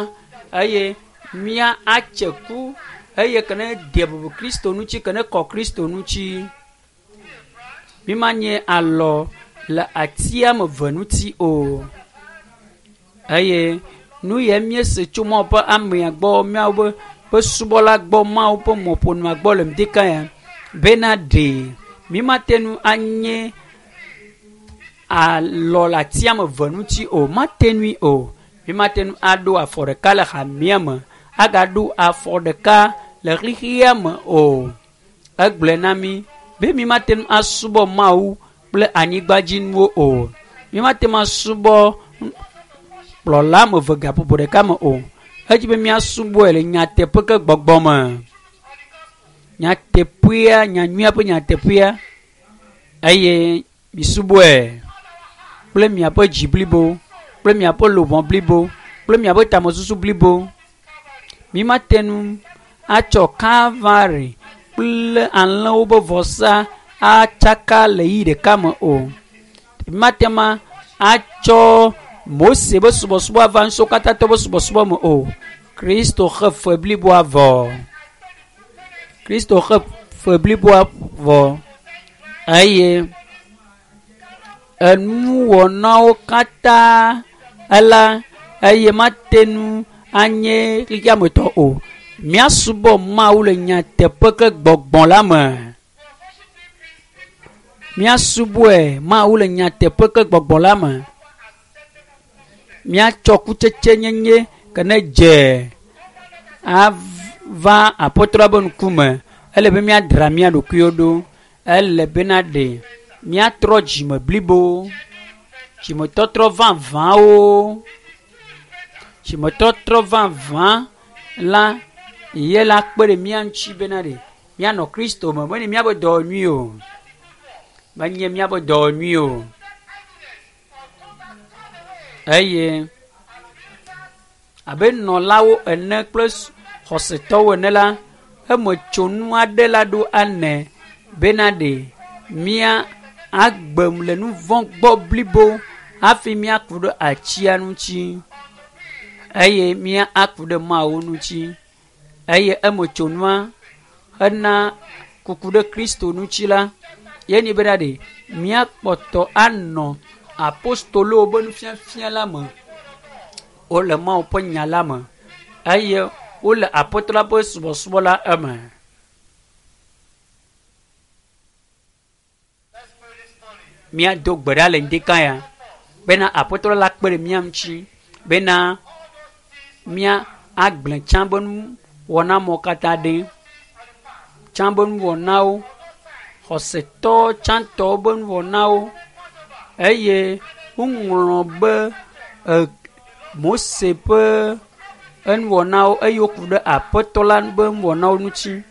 eye mía atse ku eye ke ne de bubu Kristo ŋuti, ke ne kɔ Kristo ŋuti. Mímanye alɔ le atia me ve ŋuti o. Eye nu ya míese tso Mawu ƒe amea gbɔ, míawo ƒe subɔla gbɔ, Mawu ƒe mɔƒonua gbɔ le ŋdika ya bena ɖe mímate ŋu anye alɔ le atia me ve ŋuti o. Mate ŋui o. Mímate ŋu aɖo afɔ ɖeka le hamea me, agaɖo afɔ ɖeka le xexea me o. Egblɔe na mí be mímate ŋu asubɔ Mawu kple anyigbadzinuwo o. Mímate ŋu asubɔ kplɔla ame eve gaƒoƒo ɖeka me o. Edzi be míasubɔe le nyateƒe ke gbɔgbɔ me. Nyateƒea, nyanyuia ƒe nyateƒea eye misubɔe kple miaƒe dzi blibo, kple miaƒe luʋɔ blibo, kple miaƒe tamesusu blibo. Mímate ŋu atsɔ Kalvari kple alẽwo ƒe vɔsa atsaka le ɣi ɖeka me o. Mímate ŋu atsɔ Mose ƒe subɔsubɔ ava ŋusẽkatãtɔ ƒe subɔsubɔ me o. Kristo xe fe bliboa vɔ. Kristo xe fe bliboa vɔ eye enuwɔnawo katã ela eye mate ŋu anye xexeametɔ o. Míasubɔ Mawu le nyateƒe ke gbɔgbɔ la me. Míasubɔe Mawu le nyateƒe ke gbɔgbɔ la me. Míatsɔ kutsetse nyenye ke ne dze ava aƒetɔ la ƒe ŋkume. Ele be míadra mía ɖokuiwo ɖo. Ele bena ɖe míatrɔ dzime blibo, dzimetɔtrɔ vavãwo, dzimetɔtrɔ vavã la ye la kpe ɖe mía ŋuti bena ɖe míanɔ Kristo me. Menye míaƒe dɔ nyui o, menye míaƒe dɔ nyui o. Eye abe nɔlawo ene kple xɔsetɔwo ene la, emetsonu aɖe la ɖo ane bena ɖe mía agbe le nu vɔ̃ gbɔ blibo hafi míaku ɖe atsia ŋuti eye mía aku ɖe Mawu ŋuti. Eye emetsonua hena kuku ɖe Kristo ŋuti la, ye nyi bena ɖe míakpɔtɔ anɔ apostolowo ƒe nufiafia la me. Wole Mawu ƒe nya la me eye wole Aƒetɔ la ƒe subɔsubɔ la eme. Míado gbe ɖa le ŋdika ya bena Aƒetɔ la kpe ɖe mía ŋuti bena mía agblẽ tsã be nuwɔna mawo katã ɖi. Tsã be nuwɔnawo, xɔsetɔ tsãtɔwo be nuwɔnawo eye woŋlɔ be e Mose ƒe enuwɔnawo eye woku ɖe Aƒetɔ la ƒe nuwɔnawo ŋuti.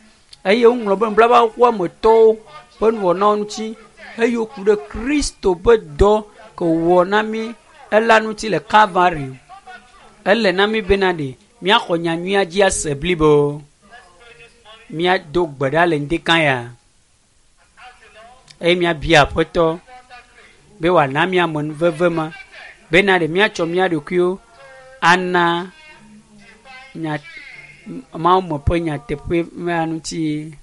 Eye woŋlɔ be nublabaxɔmetɔwo ƒe nuwɔnawo ŋuti eye woku ɖe Kristo ƒe dɔ ke wòwɔ na mí ela ŋuti le Kalvari. Ele na mí bena ɖe míaxɔ nyanyuia dzi ase blibo. Míado gbe ɖa le ŋdika ya eye míabia Aƒetɔ be wòana mí amenuveve ma bena ɖe míatsɔ mía ɖokuiwo ana nya Mawu me ƒe nyateƒe ma ŋuti.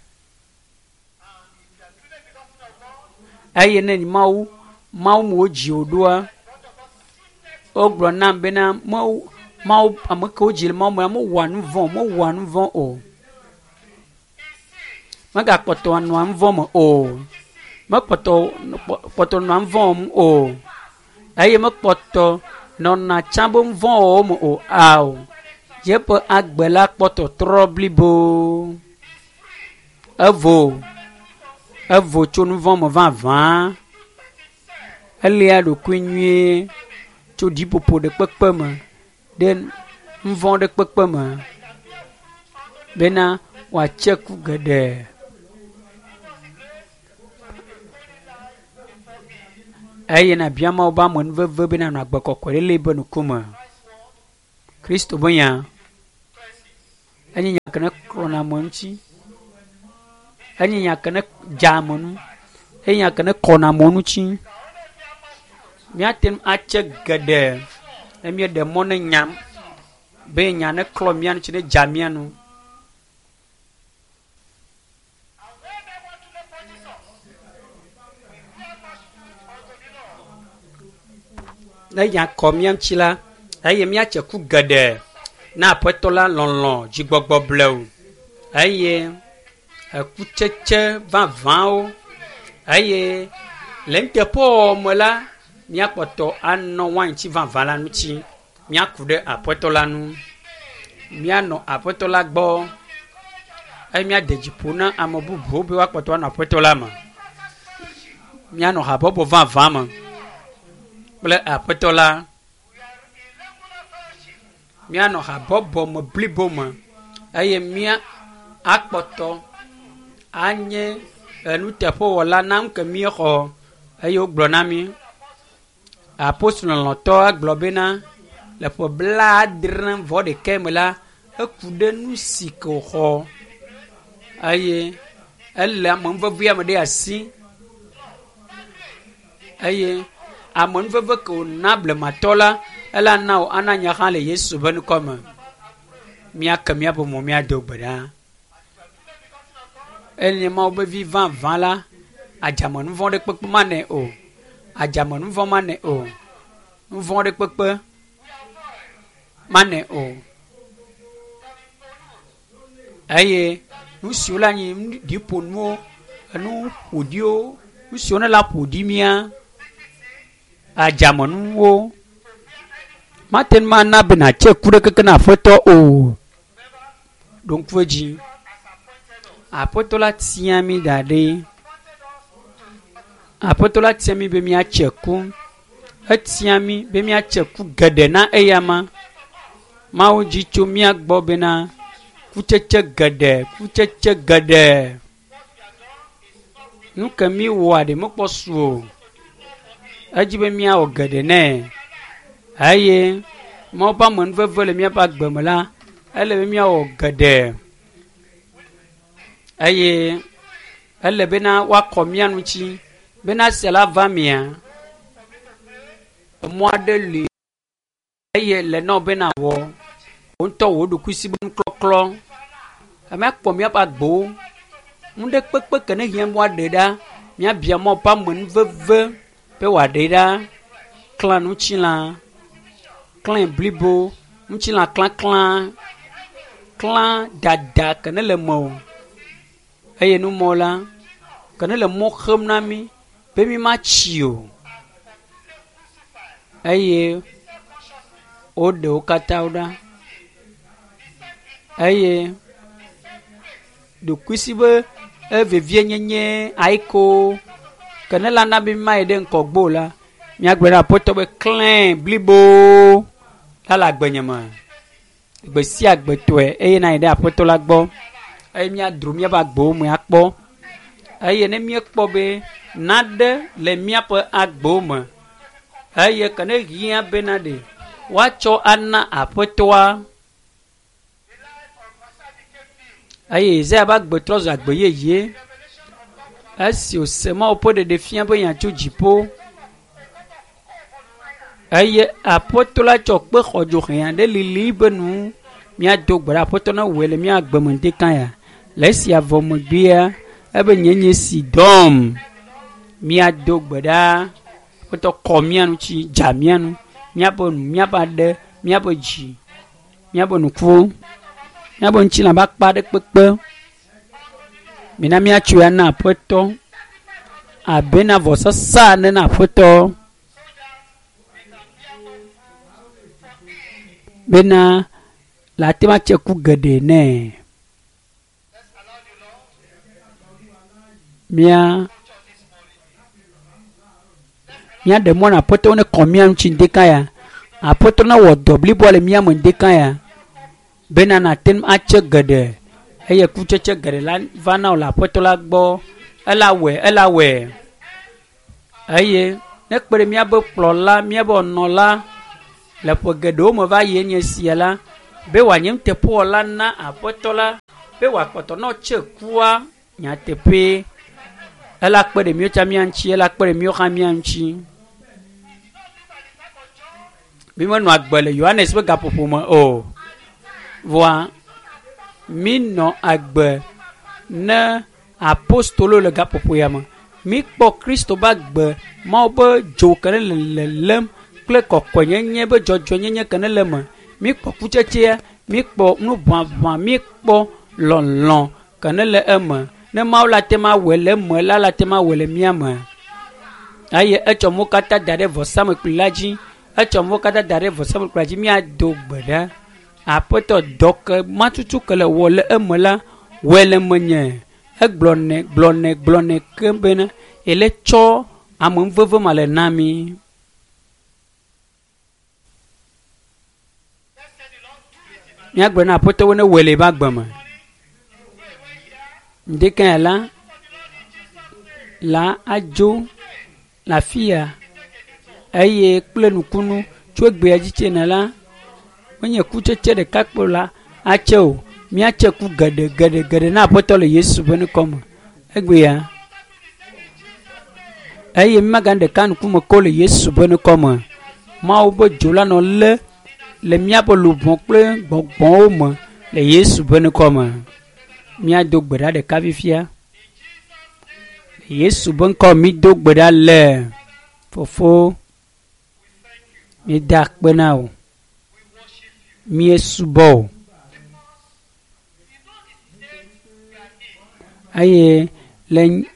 Eye ne Mawu Mawu me wodzi wò ɖoa, wogblɔ nam bena Mawu Mawu ame ke wodzi le Mawu mea mewɔa nu vɔ̃ mewɔa nu vɔ̃ o. Megakpɔtɔ nɔa nu vɔ̃ me o. Mekpɔtɔ kpɔtɔ nɔa nu vɔ̃ wɔm o. Eye mekpɔtɔ nɔna tsã be nu vɔ̃ wɔwɔ me o. Ao, yeƒe agbe la kpɔ tɔtrɔ blibo. Evo, evo tso nu vɔ̃ me vavã. Elia ɖokui nyuie tso ɖiƒoƒo ɖe kpekpe me ɖe nu vɔ̃ ɖe kpekpe me bena wòatse ku geɖe. Eye nàbia Mawu be amenuveve be nànɔ agbe kɔkɔe ɖe le eƒe ŋkume. Kristo be nya enye nya ke ne klɔna ame ŋuti, enye nya ke ne dza ame nu, enye nya ke ne kɔna ame ŋuti. Míate ŋu atse geɖe ne míeɖe mɔ ne nya be nya neklɔ mía ŋuti ne dza mía nu. Ne nya kɔ mía ŋuti la, eye míatse ku geɖe na Aƒetɔ la lɔlɔ̃ dzigbɔgbɔ blewu eye ekutsetse vavãwo eye le nuteƒewɔwɔ me la, míakpɔtɔ anɔ wainti vavã la ŋuti. Míaku ɖe Aƒetɔ la ŋu. Míanɔ Aƒetɔ la gbɔ eye míade dzi ƒo na ame bubuwo be woakpɔtɔ anɔ Aƒetɔ la me. Míanɔ habɔbɔ vavã me kple Aƒetɔ la. Míanɔ habɔbɔ me blibo me eye mía akpɔtɔ anye enuteƒewɔla na nu ke míexɔ eye wogblɔ na mí. Apostolo lɔlɔ̃tɔ gblɔ bena le ƒe blaadre vɔ ɖekɛ me la, eku ɖe nu si ke wòxɔ eye ele amenuvevea me ɖe asi eye amenuveve ke wòna blematɔ la, ela na wò ana nye hã le Yesu ƒe ŋkɔ me. Míake míaƒe mo míado gbe ɖa. Enye Mawu ƒe vi vavã la, adzamenuvɔ̃ ɖe kpekpe manɛ o. Adzamenuvɔ̃ manɛ o. Nuvɔ̃ ɖe kpekpe manɛ o. Eye nu siwo le anyi ɖiƒonuwo, enu ƒoɖiwo, nu siwo ne la ƒo ɖi mía, adzamenuwo mate ŋu ana be nàtse ku ɖe keke na Aƒetɔ o. Ɖo ŋku edzi. Aƒetɔ la tia mí da ɖi. Aƒetɔ la tia mí be míatse ku. Etia mí be míatse ku geɖe na eyama. Mawu dzi tso mía gbɔ bena kutsetse geɖe, kutsetse geɖe. Nu ke míwɔa ɖe mekpɔ su o. Edzi be míawɔ geɖe nɛ. Eye Mawu ƒe amenuveve le míaƒe agbe me la, ele be míawɔ geɖe. Eye ele bena woakɔ mía ŋuti bena esia la va mía. Emɔ aɖe li. Eye le nɔ be nàwɔ wò ŋutɔ wò ɖokuisi be nuklɔklɔ. Míakpɔ míaƒe agbewo. Nu ɖe kpekpe ke ne hiã be woaɖe ɖa, míabia Mawu ƒe amenuveve be wòaɖe ɖa. Klã ŋutilã, klãe blibo, ŋutilã klãklã, klã dada ke ne le mewò eye numɔ la ke ne le mɔ xem na mí be mímatsi o. Eye woɖe wo katã ɖa eye ɖokuisi be evevienyenye ayiko ke ne la na be mímayi ɖe ŋgɔgbe o la, míagblɔ na Aƒetɔ be klãe blibo la le agbenye me. Gbe sia gbe tɔe eye nayi ɖe Aƒetɔ la gbɔ eye míadro míaƒe agbewo me akpɔ. Eye ne míekpɔ be naɖe le míaƒe agbewo me eye ke ne hiã bena ɖe woatsɔ ana Aƒetɔa. Eye Yesaya ƒe agbe trɔ zu agbe yeye esi wòse Mawu ƒe ɖeɖefia ƒe nya tso dziƒo. Eye Aƒetɔ la tsɔ kpe xɔdzo hɛ aɖe lili be nu míado gbe ɖa Aƒetɔ ne wɔe le mía agbe me ŋdekã ya. Le esia vɔ megbea, ebe nye nye si dɔm. Míado gbe ɖa Aƒetɔ kɔ mía ŋuti, dza mía nu, míaƒe nu, míaƒe aɖe, míaƒe dzi, míaƒe nukuwo, míaƒe ŋutilã ƒe akpa ɖe kpekpe. Mina míatsoe ana Aƒetɔ abe na vɔsasa ene na Aƒetɔ bena le ate ŋu atse ku geɖe nɛ. Mía míaɖe mɔ na Aƒetɔ ne kɔ mía ŋuti ŋdeka ya. Aƒetɔ newɔ dɔ bliboa le mía me ŋdeka ya. Bena nàte ŋu atse geɖe eye kutsetse geɖe la va na wò le Aƒetɔ la gbɔ. Ela wɔe, ela wɔe. Eye. Ne kpe ɖe míabe kplɔla, míabe nɔla le ƒe geɖewo me va yi enye sia la, be wòanye nuteƒewɔla na aƒetɔ la, be wòakpɔtɔ nɔ tse kua nyateƒe. Ela kpe ɖe míwo tsã mía ŋuti, ela kpe ɖe míwo hã mía ŋuti. Mi menɔ agbe le Yohanes ƒe gaƒoƒo me o. Vɔa mi nɔ agbe ne apostolo le gaƒoƒo ya me. Mi kpɔ Kristo be agbe Mawu be dzo ke ne le lelem kple kɔkɔenyenye be dzɔdzɔenyenye ke ne le eme. Mi kpɔ kutsetsea, mi kpɔ nuʋaʋã, mi kpɔ lɔlɔ ke ne le eme. Ne Mawu la te ma wɔe le eme la, la te ma wɔe le mía me. Eye etsɔ mo katã da ɖe vɔsamlekpui la dzi. Etsɔ mo katã da ɖe vɔsamlekpui la dzi. Míado gbe ɖa. Aƒetɔ dɔ ke matutu ke le wɔ le eme la, wɔe le menye. Egblɔnɛ, gblɔnɛ, gblɔnɛ ke bena ele tsɔ amenuveve ma le na mi. Míagblɔ na aƒetɔwo ne wɔe le eƒe agbe me. Ŋdekanya la, la adzo le afi ya eye kple nukunu tso egbea dzi tsena la, menye kutsetse ɖeka kpo la atse o. Míatse ku geɖe geɖe geɖe na aƒetɔ le Yesu ƒe ŋkɔ me. Egbea eye mímaganye ɖeka ŋkume ko le Yesu ƒe ŋkɔ me. Mawu ƒe dzo la nɔ lé le míaƒe luʋɔ kple gbɔgbɔwo me le Yesu ƒe ŋkɔ me. Míado gbe ɖa ɖeka fifia. Le Yesu ƒe ŋkɔ mído gbe ɖa le. Fofo, míeda akpe na wò. Míesubɔ wò. Eye le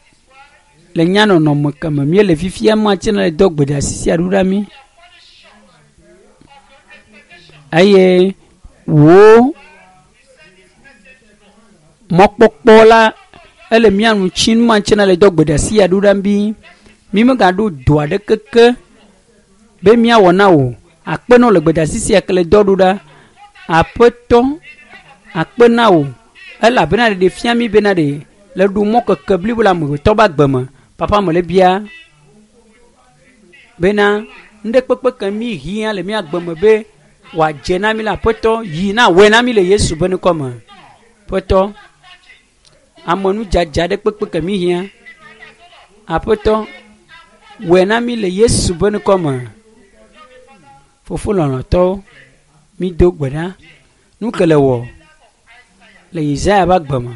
le nyanɔnɔme ke me míele fifia mate ŋu dɔ gbedeasi sia ɖo ɖa mí. Eye wò mɔkpɔkpɔ la ele mía nu tsim mate ŋu le dɔ gbedeasi ya ɖo ɖa mí. Mi megaɖo do aɖeke ke be míawɔ na wò. Akpe na wò le gbedeasi sia ke le dɔ ɖo ɖa. Aƒetɔ, akpe na wò elabena ɖeɖe fia mí bena ɖe le ɖo mɔ keke blibo le amegbetɔ be agbe me. Papa me le bia bena nuɖe kpekpe ke mí hiã le mía agbe me be wòadze na mí le aƒetɔ yi na wɔe na mí le Yesu ƒe ŋkɔ me. Aƒetɔ, amenudzadza ɖe kpekpe ke mí hiã. Aƒetɔ, wɔe na mí le Yesu ƒe ŋkɔ me. Fofo lɔlɔ̃tɔwo, mído gbe ɖa. Nu ke le wɔ le Yesaya ƒe agbe me.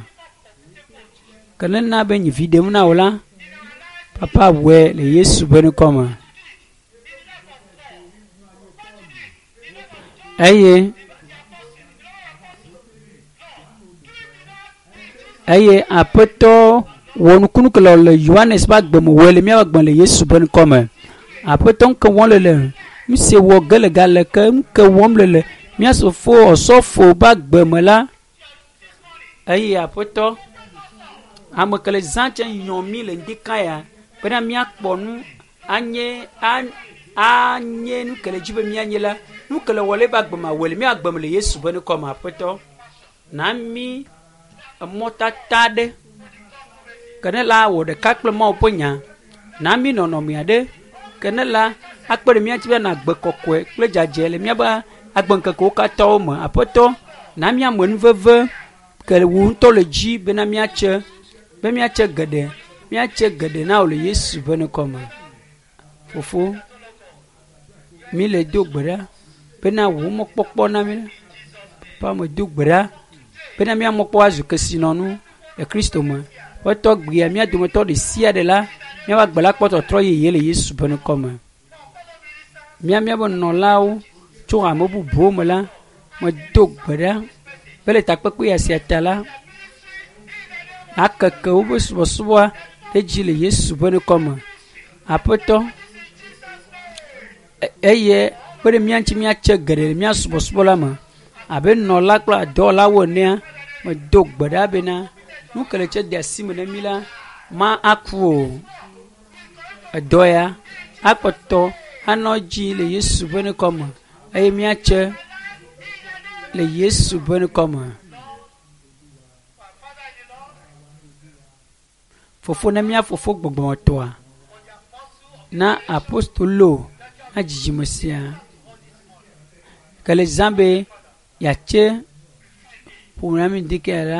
Ke ne na be nye vi ɖem na wò la, papa wɔe le Yesu ƒe ŋkɔ me. Eye eye aƒetɔ wɔ nukunu ke le le Yohanes ƒe agbe me wɔe le míaƒe agbe le Yesu ƒe ŋkɔ me. Aƒetɔ ŋke wɔm le le nu si wɔ ge le gale ke ŋke wɔm le le mía sofo ɔsɔfo ƒe agbe me la eye aƒetɔ ame ke le zã tse nyɔ mí le ŋdika ya bena míakpɔ nu anye anye nu ke le dzi be míanye la nu ke le wɔ le eƒe agbe me awɔe le mía agbe me le Yesu ƒe ŋkɔ me aƒetɔ na mí emɔtata ɖe ke ne la wɔ ɖeka kple Mawu ƒe nya na mí nɔnɔme aɖe ke ne la akpe ɖe mía ŋuti be anɔ agbe kɔkɔe kple dzadzɛ le míaƒe agbeŋkekewo katã me aƒetɔ na mí amenuveve ke wò ŋutɔ le dzi bena míatse be míatse geɖe míatse geɖe na wò le Yesu ƒe ŋkɔ me. Fofo, mí le do gbe ɖa bena wò mɔkpɔkpɔ na mí. Papa me do gbe ɖa bena mía mɔkpɔkpɔ azu kesinɔnu le Kristo me. Ƒetɔ gbea mía dometɔ ɖe sia ɖe la míaƒe agbe la kpɔ tɔtrɔ yeye le Yesu ƒe ŋkɔ me. Mía míaƒe nɔlawo tso ame bubuwo me la medo gbe ɖa be le takpekpe ya sia ta la akeke woƒe subɔsubɔa ɖe dzi le Yesu ƒe ŋkɔ me. Aƒetɔ eye kpe ɖe mía ŋuti míatse geɖe le mía subɔsubɔ la me abe nɔla kple dɔwɔlawo enea medo gbe ɖa bena nu ke le tse de asi me na mí la ma aku o. Edɔ ya akpɔtɔ anɔ dzi le Yesu ƒe ŋkɔ me eye míatse le Yesu ƒe ŋkɔ me. Fofo ne mía fofo gbɔgbɔmetɔa Na apostolo na dzidzime sia ke le zã be yeatse ƒome na mi ŋdi ke la.